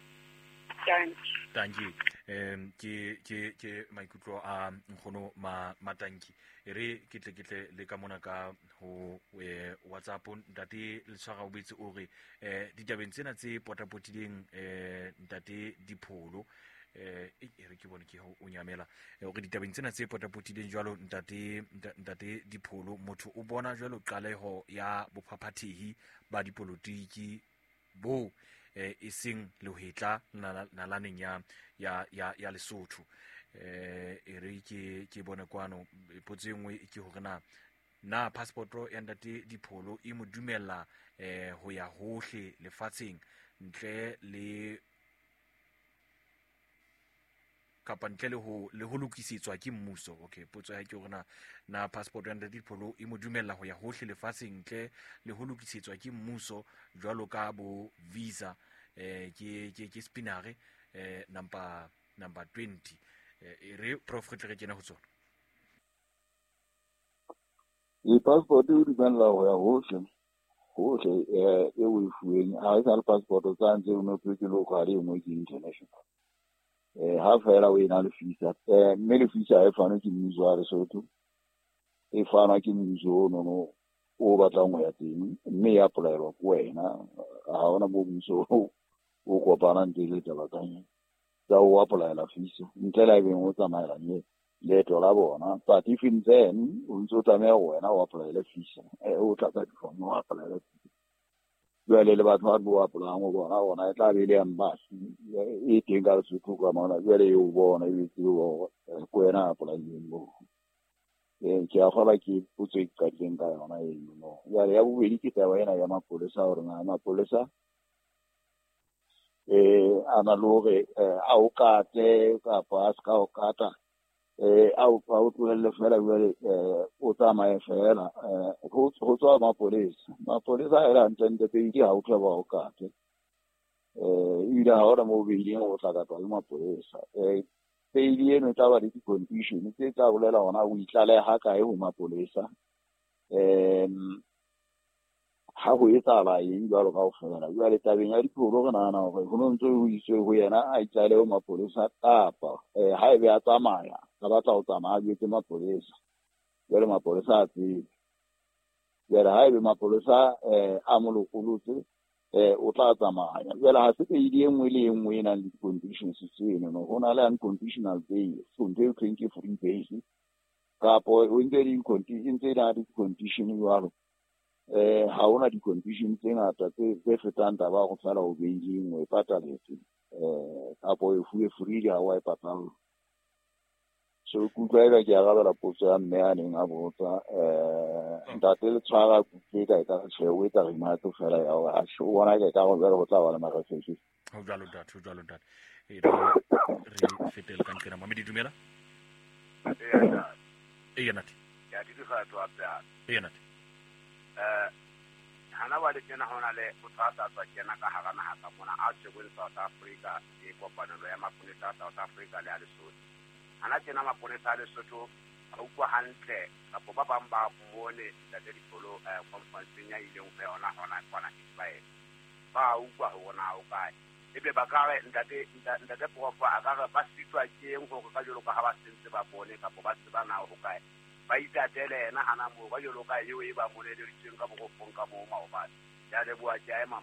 Thank Thank you. Um ke ke ke maikutlo a nkgono ma matanki e re ke tle ke tle le ka mona ka ho eh, WhatsApp ntate Letshwara o betse o re eh ditabeng tsena tse potapotileng eh ntate Dipholo eh e re ke bone ke ho o nyamela hore ditabeng tsena tse potapotileng jwalo ntate ntate Dipholo motho o bona jwalo qaleho ya bophaphathehi ba dipolotiki bo eh e seng lehetla nalaneng ya ya ya ya Lesotho. Eh e re ke ke bone kwano potso e nngwe ke hore na na passport ya ntate Dipholo e mo dumella eh ho ya hohle lefatsheng ntle le kapa ntle le ho le ho lokisetswa ke mmuso. Okay, potso ya ke hore na na passport ya ntate Dipholo e mo dumella ho ya hohle lefatsheng ntle le ho lokisetswa ke mmuso jwalo ka bo visa eh ke ke ke spinare eh number number twenty. E re prof re tle re kene ho tsona. E passport e dumella ho ya hohle hohle eh e o e fuweng ha e sa le passport tsa ntse o no ke local e nngwe ke international. Eh ha fela o ena le visa eh mme le visa e fanwe ke mmuso wa Lesotho e fanwa ke mmuso o nono o batlang ho ya teng mme ya applyelwa ke wena ha hona mo mmuso o kopanang teng le taba tsa tsa o applyela visa ntle le haebeng o tsamaela mme leeto la bona. But even then o ntse o tlameha ho wena o applyele visa eh o tlatsa difomo o applyele visa. Jwale le batho ba bo applyang ho bona bona e tla be le embassy e teng ka Lesotho ka mona jwale e o bona e tsebe hore ke wena applyileng moo. Eh ke a kgolwa ke potso e qadileng ka yona eno no. Jwale ya bobedi ke taba ena ya mapolesa hore na mapolesa eh a na le hore a o kate kapa a se ka o kata eh a o a o tlohelle fela jwale eh o tsamaye fela eh ho ho tswa mapolesa mapolesa a hantle pedi ha o tla ba o kate eh ebile ha hona moo beileng o tla katwa le mapolesa eh pedi eno e tla ba le di-condition tse tla bolela hona o itlaleha kae ho mapolesa um ha ho etsahala eng jwalo kaofela. Jwale tabeng ya Dipholo re nahana hore ho no ntso ho iswe ho yena a itlalehe ho mapolesa kapa eh haebe a tsamaya a batla ho tsamaya a jwetse mapolesa jwale mapolesa a tsebe. Jwale haebe mapolesa eh a mo lokolotse eh o tla tsamaya. Jwale ha se peidi e nngwe le e nngwe e nang le di-conditions tseno no ho na le unconditional bail so ntho eo thweng ke free bail kapo o ntse di ntse e na le di-condition jwalo eh ha hona di-condition tse ngata tse tse fetang taba ya go fela o bailing o e pataletse eh kapo e fuwe free ha wa e patala. So ke utlwa eka ke arabela potso ya mme a neng a botsa eh ntate Letshwara kutlwe ka e ka tjhe o etsa remark fela ya hore a o bona ke ka go jwale ho tla ba le marefesi. Ho jwalo ntate, ho jwalo ntate. E re re fetele ka nqena mamedi dumela. E ntate. Ya di dikgato hape. E ntate. Eh hana ba le kena hona le motho a sa tswa kena ka hara naha ka mona a tshwerweng South Africa ke kopanelo ya maponesa a South Africa le a Lesotho. Hana tjena maponesa a Lesotho a utlwa hantle kapo ba bang ba mmone ntate Dipholo eh conference ya ileng ho yona hona kwana Israel. Ba utlwa hore na o kae. Ebe ba ka re ntate ntate Prof a ka re ba sitwa ke eng hore ka jwalo ka ha ba sentse ba bone kapo ba tseba na ho kae. Ba itatele yena hana moo ka jwalo ka eo e ba moleleditsweng ka borofong ka moo maobane. Ke a leboha, ke a ema.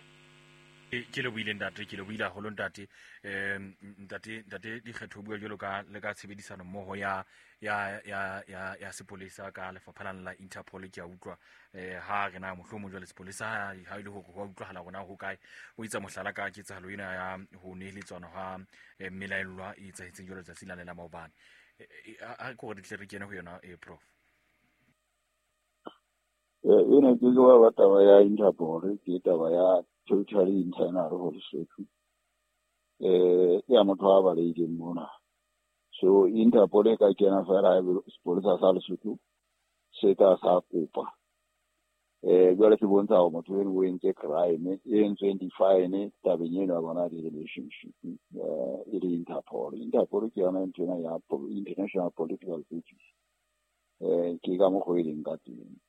Ke le buile ntate, ke le buile haholo ntate. Um ntate ntate Dikgetho bua jwalo ka le ka tshebedisano mmoho ya ya ya ya ya sepolesa ka lefapha la Interpol ke a utlwa eh ha re na mohlomong jwale sepolesa ha e le hore ho utlwahala rona ho kae o itsa mohlala ka ketsahalo ena ya ho neheletswana ha melaellwa e etsahetseng jwalo tsatsi la la maobane. A ko re tle re kene ho yona e prof. Eh ena ke bua ba taba ya Interpol ke taba ya totally internal ho Lesotho. Eh ya motho a balehileng mona. So Interpol e ka kena fela sepolesa sa Lesotho se ka sa kopa. Eh jwale se bontsha hore motho eno o entse crime e entsweng di-fine tabeng eno ya bona di-relationship eh e le Interpol. Interpol ke yona ntho ena ya international political justice. Eh ke ka mokgwa e leng ka teng.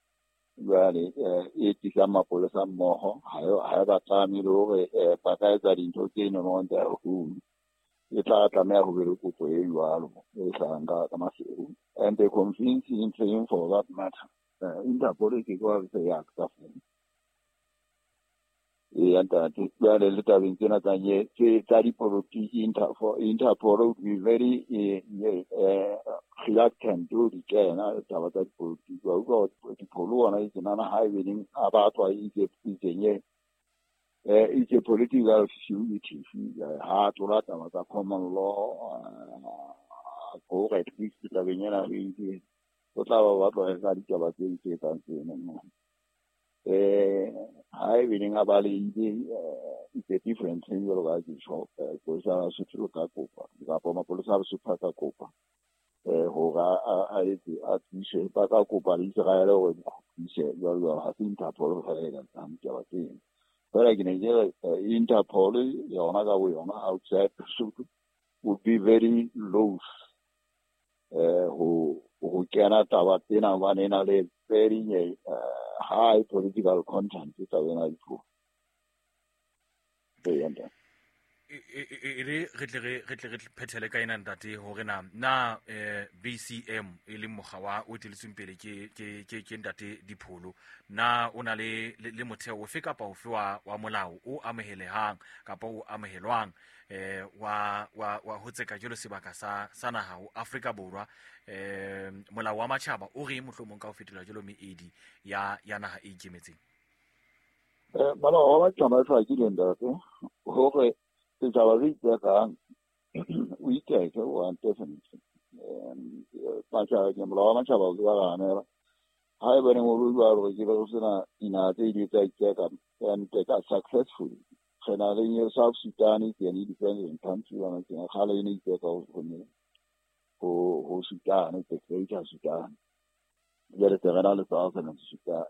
Jwale e tlisang mapolesa mmoho ha e ba tlame le hore ba ka etsa dintho tse nono on their own. E tla tlameha ho be le kopo e jwalo e hlahang ka ka Maseru. And the convincing thing for that matter. Uh, Interpol ke kwa se ya ka fela. E ntate jwale le tabeng tsena tsa nye tse tsa dipolotiki Interpol Interpol would be very eh reluctant to di kena taba tsa dipolotiki. Wa utlwa Dipholo ona e tsenana ha e beneng a batlwa e itse itsenye eh itse political fugitive ha tlola taba tsa common law hore at least tabeng ena re itse o tla ba batlwa ka ditaba tse iketsang tseno. Eh ha e beneng a balehile it's a different thing jwalo ka ke tjho sepolesa sa Lesotho ka kopa kapa mapolesa a Lesotho a ka kopa eh hore a etse a tsise ba ka kopa le Israel hore di kgutlise jwalo jwalo. Ha se Interpol fela e ka etsang ditaba tseno. Fela ke ne ke re Interpol yona ka bo yona outside Lesotho would be very loath eh ho ho kena taba tsena hobane e na le very high political content taba ena dipuo. E re re tle re tle re phethele ka ena ntate hore na na eh B C M e leng mokga wa o eteletsweng pele ke ke ke ke ntate Dipholo na o na le le motheo ofe kapa ofe wa wa molao o amohelehang kapa o amohelwang eh wa wa wa ho tseka jwalo sebaka sa sa naha ho Afrika Borwa eh molao wa matjhaba o re mohlomong ka ho fetola jwalo meedi ya ya naha e ikemetseng. Eh molao wa matjhaba e hlakile ntate hore setjhaba se itsekang o itseke one definitely. Matjhaba molao wa matjhaba o ke ba hanela haebaneng o le jwalo ke be go sena dinaha tse di tsa itseka and ka successfully. Re na le South Sudan ke an independent country yona ke kgale e ne itseka ho ho ho Sudan, the Greater Sudan. Jwale se re na le Southern Sudan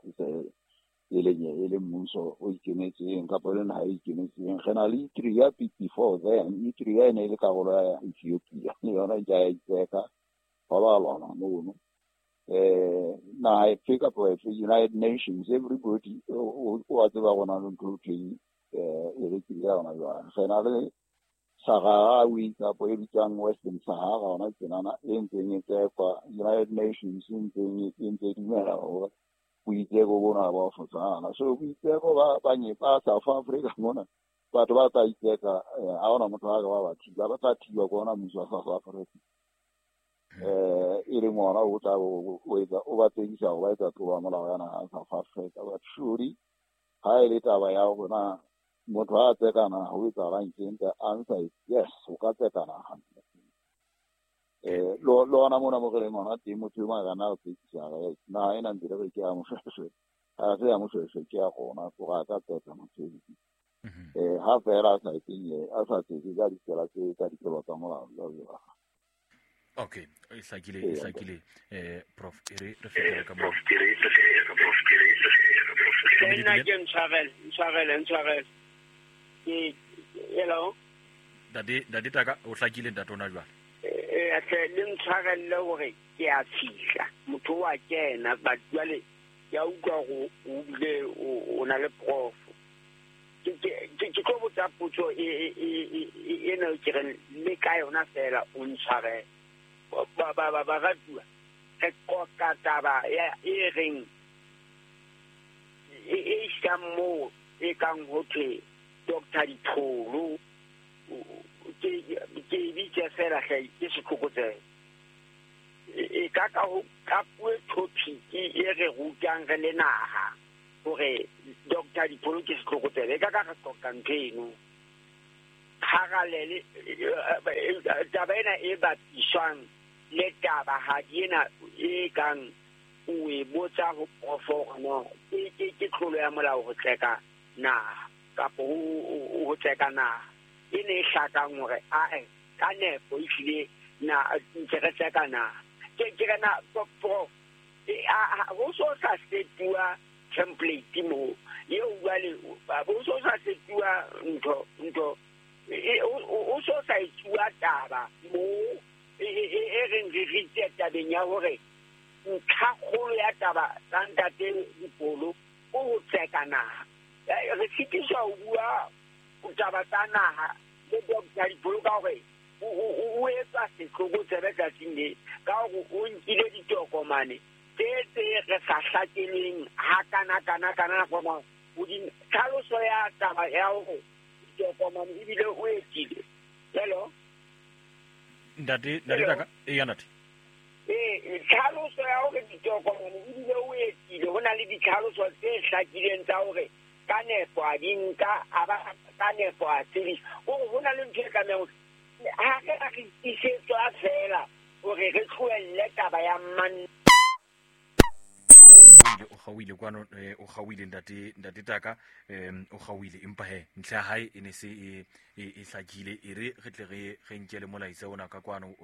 e leng e le mmuso o ikemetseng kapa le naha e ikemetseng. Re na le Eritrea before then. Eritrea e ne e le karolo ya Ethiopia le yona e ya itseka ba ba lwana mono. Eh naha efe kapa efe United Nations everybody o a tseba gona le ntho e eh e re ke yona jwale. Re na le Saharawi kapa e bitswang Western Sahara ona tsenana e ntseng e tsekwa United Nations e ntseng e ntse dumela hore boitseko bona ba fotsana. So boitseko ba ba ba South Africa mona batho ba tla itseka ha hona motho a ka ba ba thiba ba tla thiba ke ona mmuso wa South Africa. Eh e leng ona o tla o etsa o ba tsekisa ho ba etsa tlolo ya molao ya naha ya South Africa. But surely ha e le taba ya hore na motho ha a tseka naha ho etsahalang teng, the answer is yes, o ka tseka naha. Eh lo lo ona mona mo re leng hona teng motho e mong a ka nna a tsekisa naha ena ntse re re ke ya Moshoeshoe ha se ya Moshoeshoe ke ya rona hore a ka tseka motho eo. Eh ha fela a sa etseng a sa tseke ka ditsela tse ka ditlolo tsa molao jwalo jwalo. Okay, e hlakile e hlakile eh prof e re re fetele ka mo. Nna ke ntshwarele ntshwarele ntshwarele ke hello Ntate ntate Taka o hlakile ntate ona jwale. Eh atle le ntshwarelle hore ke a fihla motho wa kena but jwale ke a utlwa hore o bile o na le prof. Ke ke ke tlo botsa potso e e ena ke re le ka yona fela o ntshwarele. Ba ba ba ba ratuwa re qoqa taba ya e reng e e isang moo e kang ho thwe Doctor Dipholo ke ke bitse fela hle ke setlokotsebe e ka ka ho ka puo topic e re rutang re le naha hore Doctor Dipholo ke setlokotsebe e ka ka re qoqa ntho eno parallel taba ena e bapiswang le taba ha di ena e kang o e botsa ho prof hore no ke ke tlolo ya molao ho tseka naha kapa ho tseka naha e ne e hlakang hore ae ka nepo ehlile na ntse re tseka na ke ke re na prof ho so sa setuwa template mo eo jwale ho so sa setuwa ntho ntho o so sa etsuwa taba mo e reng re ritse tabeng ya hore ntlhakgolo ya taba tsa ntate Dipholo o ho tseka naha. Re sitiswa ho bua taba tsa naha le Doctor Dipholo ka hore o etsa setlokotsebe tsatsing le ka hore o nkile ditokomane tse tse re sa hlakeleng hakana kana kana kana hodimo tlhaloso ya taba ya hore ditokomane ebile o etile. Hello ntate ntate taka e ya ntate eh tlhaloso ya hore ditokomane ebile o etile ho na le ditlhaloso tse hlakileng tsa hore ka nepo a di nka a ba ka nepo a tsebisa hore ho na le ntho e tlamehang ha re a re tiisetswa fela hore re tlohelle taba ya man o kgaohile kwano o kgaohile ntate ntate taka o kgaohile empa he ntlha ya hae e ne se e e hlakile e re re tle re re nkele molaetsa ona ka kwano.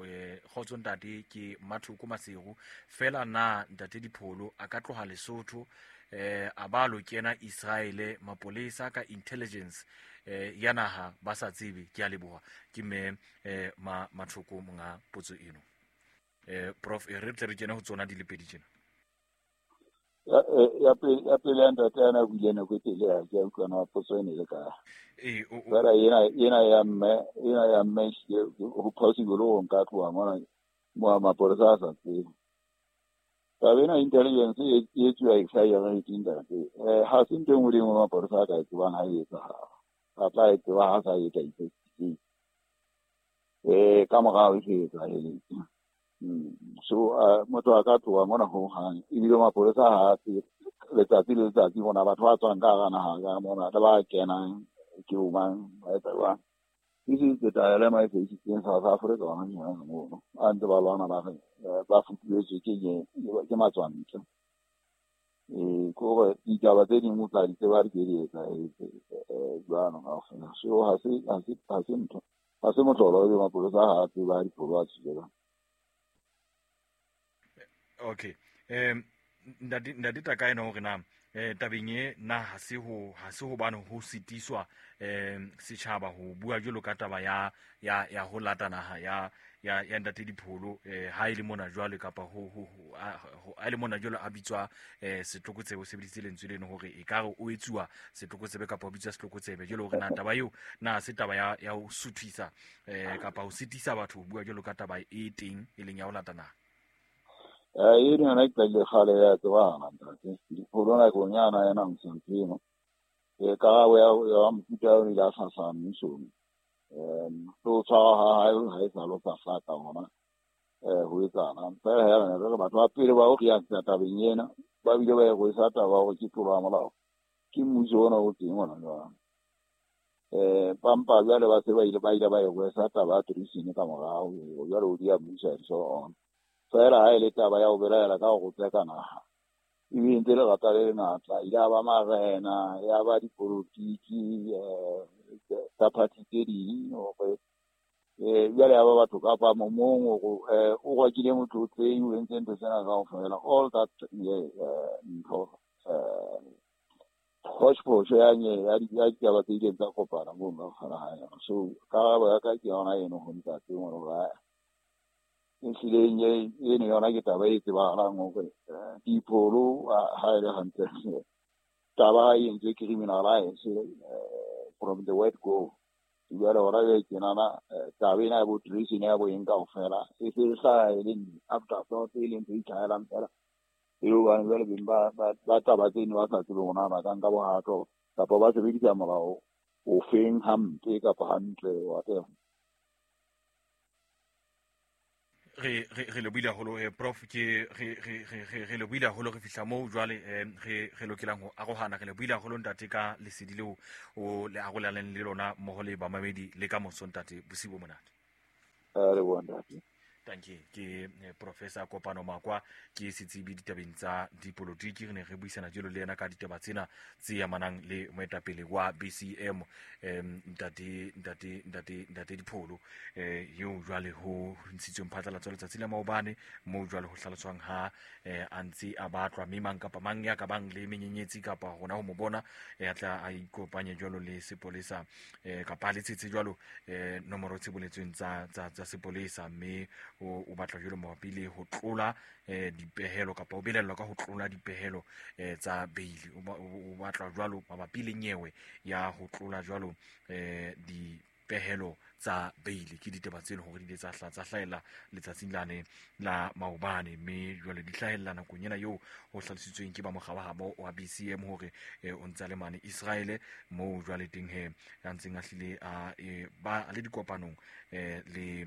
Kgotso ntate ke Mathoko Maseru fela na ntate Dipholo a ka tloha Lesotho eh a ba lo kena Israele mapolesa ka intelligence eh ya naha ba sa tsebe. Ke a leboha ke mme eh ma Mathoko monga potso eno. Eh prof e re tle re kene ho tsona di le pedi tjena. Ya pele ya pele ntate ana buile nako e telele ha ke a utlwa na potso ene le ka ee fela ena ena ya mme ena ya mme ho possible ho nka tloha mona mo mapolesa a sa tsebe. Taba ena intelligence e etsuwa e sa yona e ntate eh ha se ntho e nngwe le e nngwe mapolesa a ka e tsebang ha e etsahala a tla e tseba ha sa etsa investigate eh ka morao e se etsahetse. So motho a ka tloha mona ho hang ebile mapolesa ha se letsatsi le letsatsi bona batho ba tswang ka hara naha ka mona le ba kenang ke bo mang ba etsa jwang. This is the dilemma e faisitseng South Africa hona jwale mono a ntse ba lwana ba re ba futuhetswe ke ke matswantle. Eh ke hore ditaba tse ding o tla di tseba di ke di etsahetse jwalo kaofela. So ha se ha se ha se ntho ha se mohlolo ebe mapolesa ha a tseba Dipholo a tswile. Okay um ntate ntate taka ena hore na eh tabeng e na ha se ho ha se hobane ho sitiswa um setjhaba ho bua jwalo ka taba ya ya ya ho lata naha ya ya ya ntate Dipholo eh ha ile mona jwale kapa ho ho ha ile mona jwalo a bitswa eh setlokotsebe o sebedisitse lentswe leno hore e ka re o etsuwa setlokotsebe kapa o bitswa setlokotsebe jwalo hore na taba eo na se taba ya ya ho suthisa eh kapa ho sitisa batho ho bua jwalo ka taba e teng e leng ya ho lata naha. Eh eno yona e qadile kgale ya tsebahala ntate Dipholo nakong yana ena Msantino eh karabo ya ya mofuta o ile a hlahla mmusong um so tshwara ha hae ha e sa lo sa hlaka hona eh ho etsana fela ya rena re batho ba pele ba o react tabeng ena ba bile ba e rwesa taba hore ke tlolo ya molao ke mmuso ona o teng hona jwale. Eh pampa jwale ba se ba ile ba ile ba e rwesa taba ya treason ka morao jwale o dia mmuso and so on. Fela ha e le taba ya ho belaela ka ho tseka naha e be ntse lerata le lengata ile ya ba marena ya ba dipolotiki eh tsa party tse ding hore eh jwale ya ba batho kapa momong hore eh o rakile motho tse o entse ntho tsena kaofela all that ntho eh hodgepodge ya nye ya ditaba tse ileng tsa kopana moo ka kgala ha yona. So karabo ya ka ke yona eno ho ntate hore ehlileng eno yona ke taba e tsebahalang hore Dipholo ha e le hantle taba e entswe criminalize from the word go. Jwale hona jwale tjenana taba ena ya bo treason ya bo eng kaofela e se hlaha e leng afterthought e leng ntho e itlhahelang fela e hobane jwale beng ba ba taba tseno ba sa tsebe hore na ba ka nka bohato kapa ba sebedisa molao ofeng hampe kapa hantle whatever. Re re re lebohile haholo eh prof ke re re re re lebohile haholo re fihla moo jwale eh re re lokelang ho arohana. Re lebohile haholo ntate ka lesedi leo o le arolaneng le lona mmoho le bamamedi le ka moso ntate bosiu bo monate. Eh re bona ntate. Tanki ke Professor Kopano Makwa ke setsebi ditabeng tsa dipolotiki. Re ne re buisana jalo le yena ka ditaba tsena tse amanang le moetapele wa B C M em ntate ntate ntate ntate Dipholo eh eo jwale ho ntshitsweng phatlalatso letsatsi la maobane mo jwale ho hlaloswang ha a ntse a batlwa mme mang kapa mang ya ka bang le menyenyetsi kapa hona ho mo bona a tla a ikopanye jwalo le sepolesa kapa le tshetse jwalo nomoro tse boletsweng tsa tsa tsa sepolesa mme o batla jwalo mabapi le ho tlola dipehelo kapa o belellwa ka ho tlola dipehelo tsa bail. O batla jwalo mabapi le nyewe ya ho tlola jwalo dipehelo tsa bail. Ke ditaba tse leng hore di ile tsa hla tsa hlahella letsatsing lane la maobane mme jwale di hlahella nakong ena eo ho hlalositsweng ke ba mokga wa habo wa B C M hore o ntsa le mane Israel moo jwale teng he a ntseng a hlile a ba le dikopanong le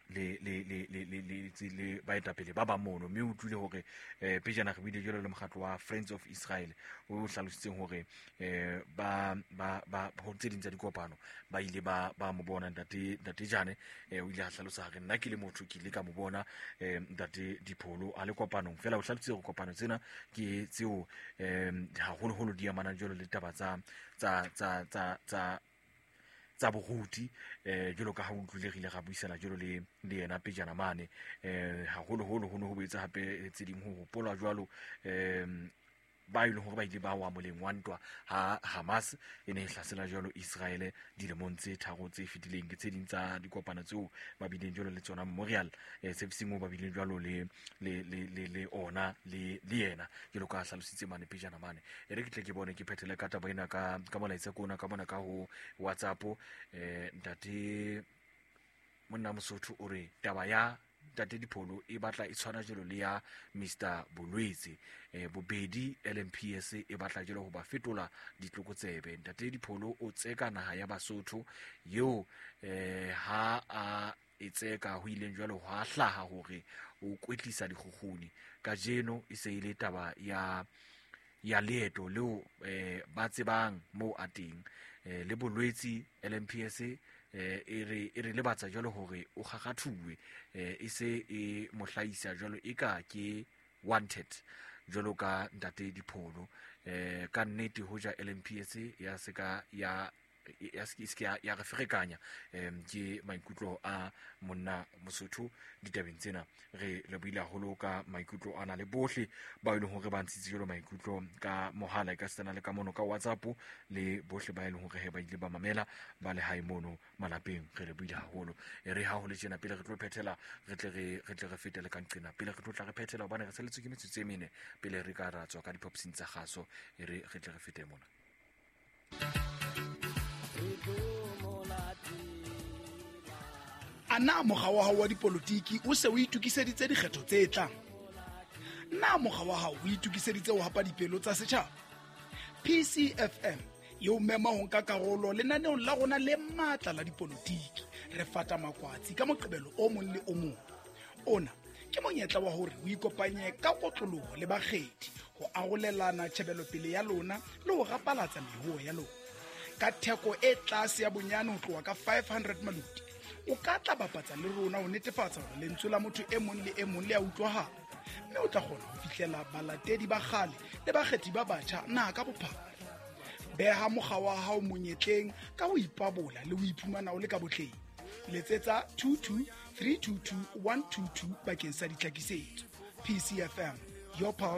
le le le le le le le baetapele ba ba mono mme o utlwile hore eh pejana re buile jwalo le mokgatlo wa Friends of Israel o hlalositseng hore eh ba ba ba ho tse ding tsa dikopano ba ile ba ba mo bona ntate ntate Jane. Eh o ile a hlalosa hore nna ke le motho ke ile ka mo bona eh ntate Dipholo a le kopanong fela o hlalositse hore kopano tsena ke tseo eh haholoholo di amanang jwalo le taba tsa tsa tsa tsa tsa tsa boruti eh jwalo ka ha o utlwile re ile ra buisana jwalo le le yena pejana mane eh haholoholo ho ne ho boetse hape tse ding ho hopolwa jwalo eh ba ile hore ba ile ba wa moleng wa ntwa ha Hamas e ne e hlasela jwalo Israel dilemong tse tharo tse fetileng. Ke tse ding tsa dikopano tseo ba bileng jwalo le tsona memorial eh servicing o ba bileng jwalo le le le le ona le le yena jwalo ka hlalositse mane pejana mane. E re ke tle ke bone ke phethele ka taba ena ka ka molaetsa kona ka bona ka ho WhatsApp eh ntate monna Mosotho o re taba ya ntate Dipholo e batla e tshwana jelo le ya Mister Bolwetse eh bobedi L M P S e batla jelo ho ba fetola ditlokotsebe. Ntate Dipholo o tseka naha ya Basotho eo eh ha a e tseka ho ileng jwalo ho a hlaha hore o kwetlisa dikgukguni kajeno e se ile taba ya ya leeto leo eh ba tsebang moo a teng eh le Bolwetse L M P S eh e re e re lebatsa jwalo hore o kgakgathuwe eh e se e mohlaisa jwalo e ka ke wanted jwalo ka ntate Dipholo eh ka nnete hoja L M P S ya seka ya ya se ya ya re ferekanya em ke maikutlo a monna Mosotho ditabeng tsena. Re le buile haholo ka maikutlo ana le bohle ba ile hore ba ntshitse jwalo maikutlo ka mohala ka sena le ka mono ka WhatsApp le bohle ba ile hore ba ile ba mamela ba le hae mono malapeng. Re le buile haholo e re ha ho le tjena pele re tlo phethela re tle re re tle re fetele ka nqena pele re tlo tla re phethela hobane re saletswe ke metsotso e mene pele re ka ra tswa ka dipopsing tsa kgaso e re re tle re fete mona. Ana mokga wa hao wa dipolotiki o se o itokiseditse dikgetho tse tlang? Na mokga wa hao o itokiseditse ho hapa dipelo tsa setjhaba? P C F M e o mema ho nka karolo lenaneong la rona le matla la dipolotiki. Re fata makwatsi ka Moqebelo o mong le o mong. Ona ke monyetla wa hore o ikopanye ka kotloloho le bakgethi ho arolelana tjhebelopele ya lona le ho rapalatsa mehoho ya lona. Ka theko e tlase ya bonyane ho tloha ka five hundred maloti, o ka tla bapatsa le rona ho netefatsa hore lentswe la motho e mong le e mong le a utlwahala, mme o tla kgona ho fihlela balatedi ba kgale le bakgethi ba batjha naha ka bophara. Beha mokga wa hao monyetleng ka ho ipabola le ho iphumana o le ka botleng. Letsetsa two two three two two one two two bakeng sa ditlhakisetso. P C F M, your power.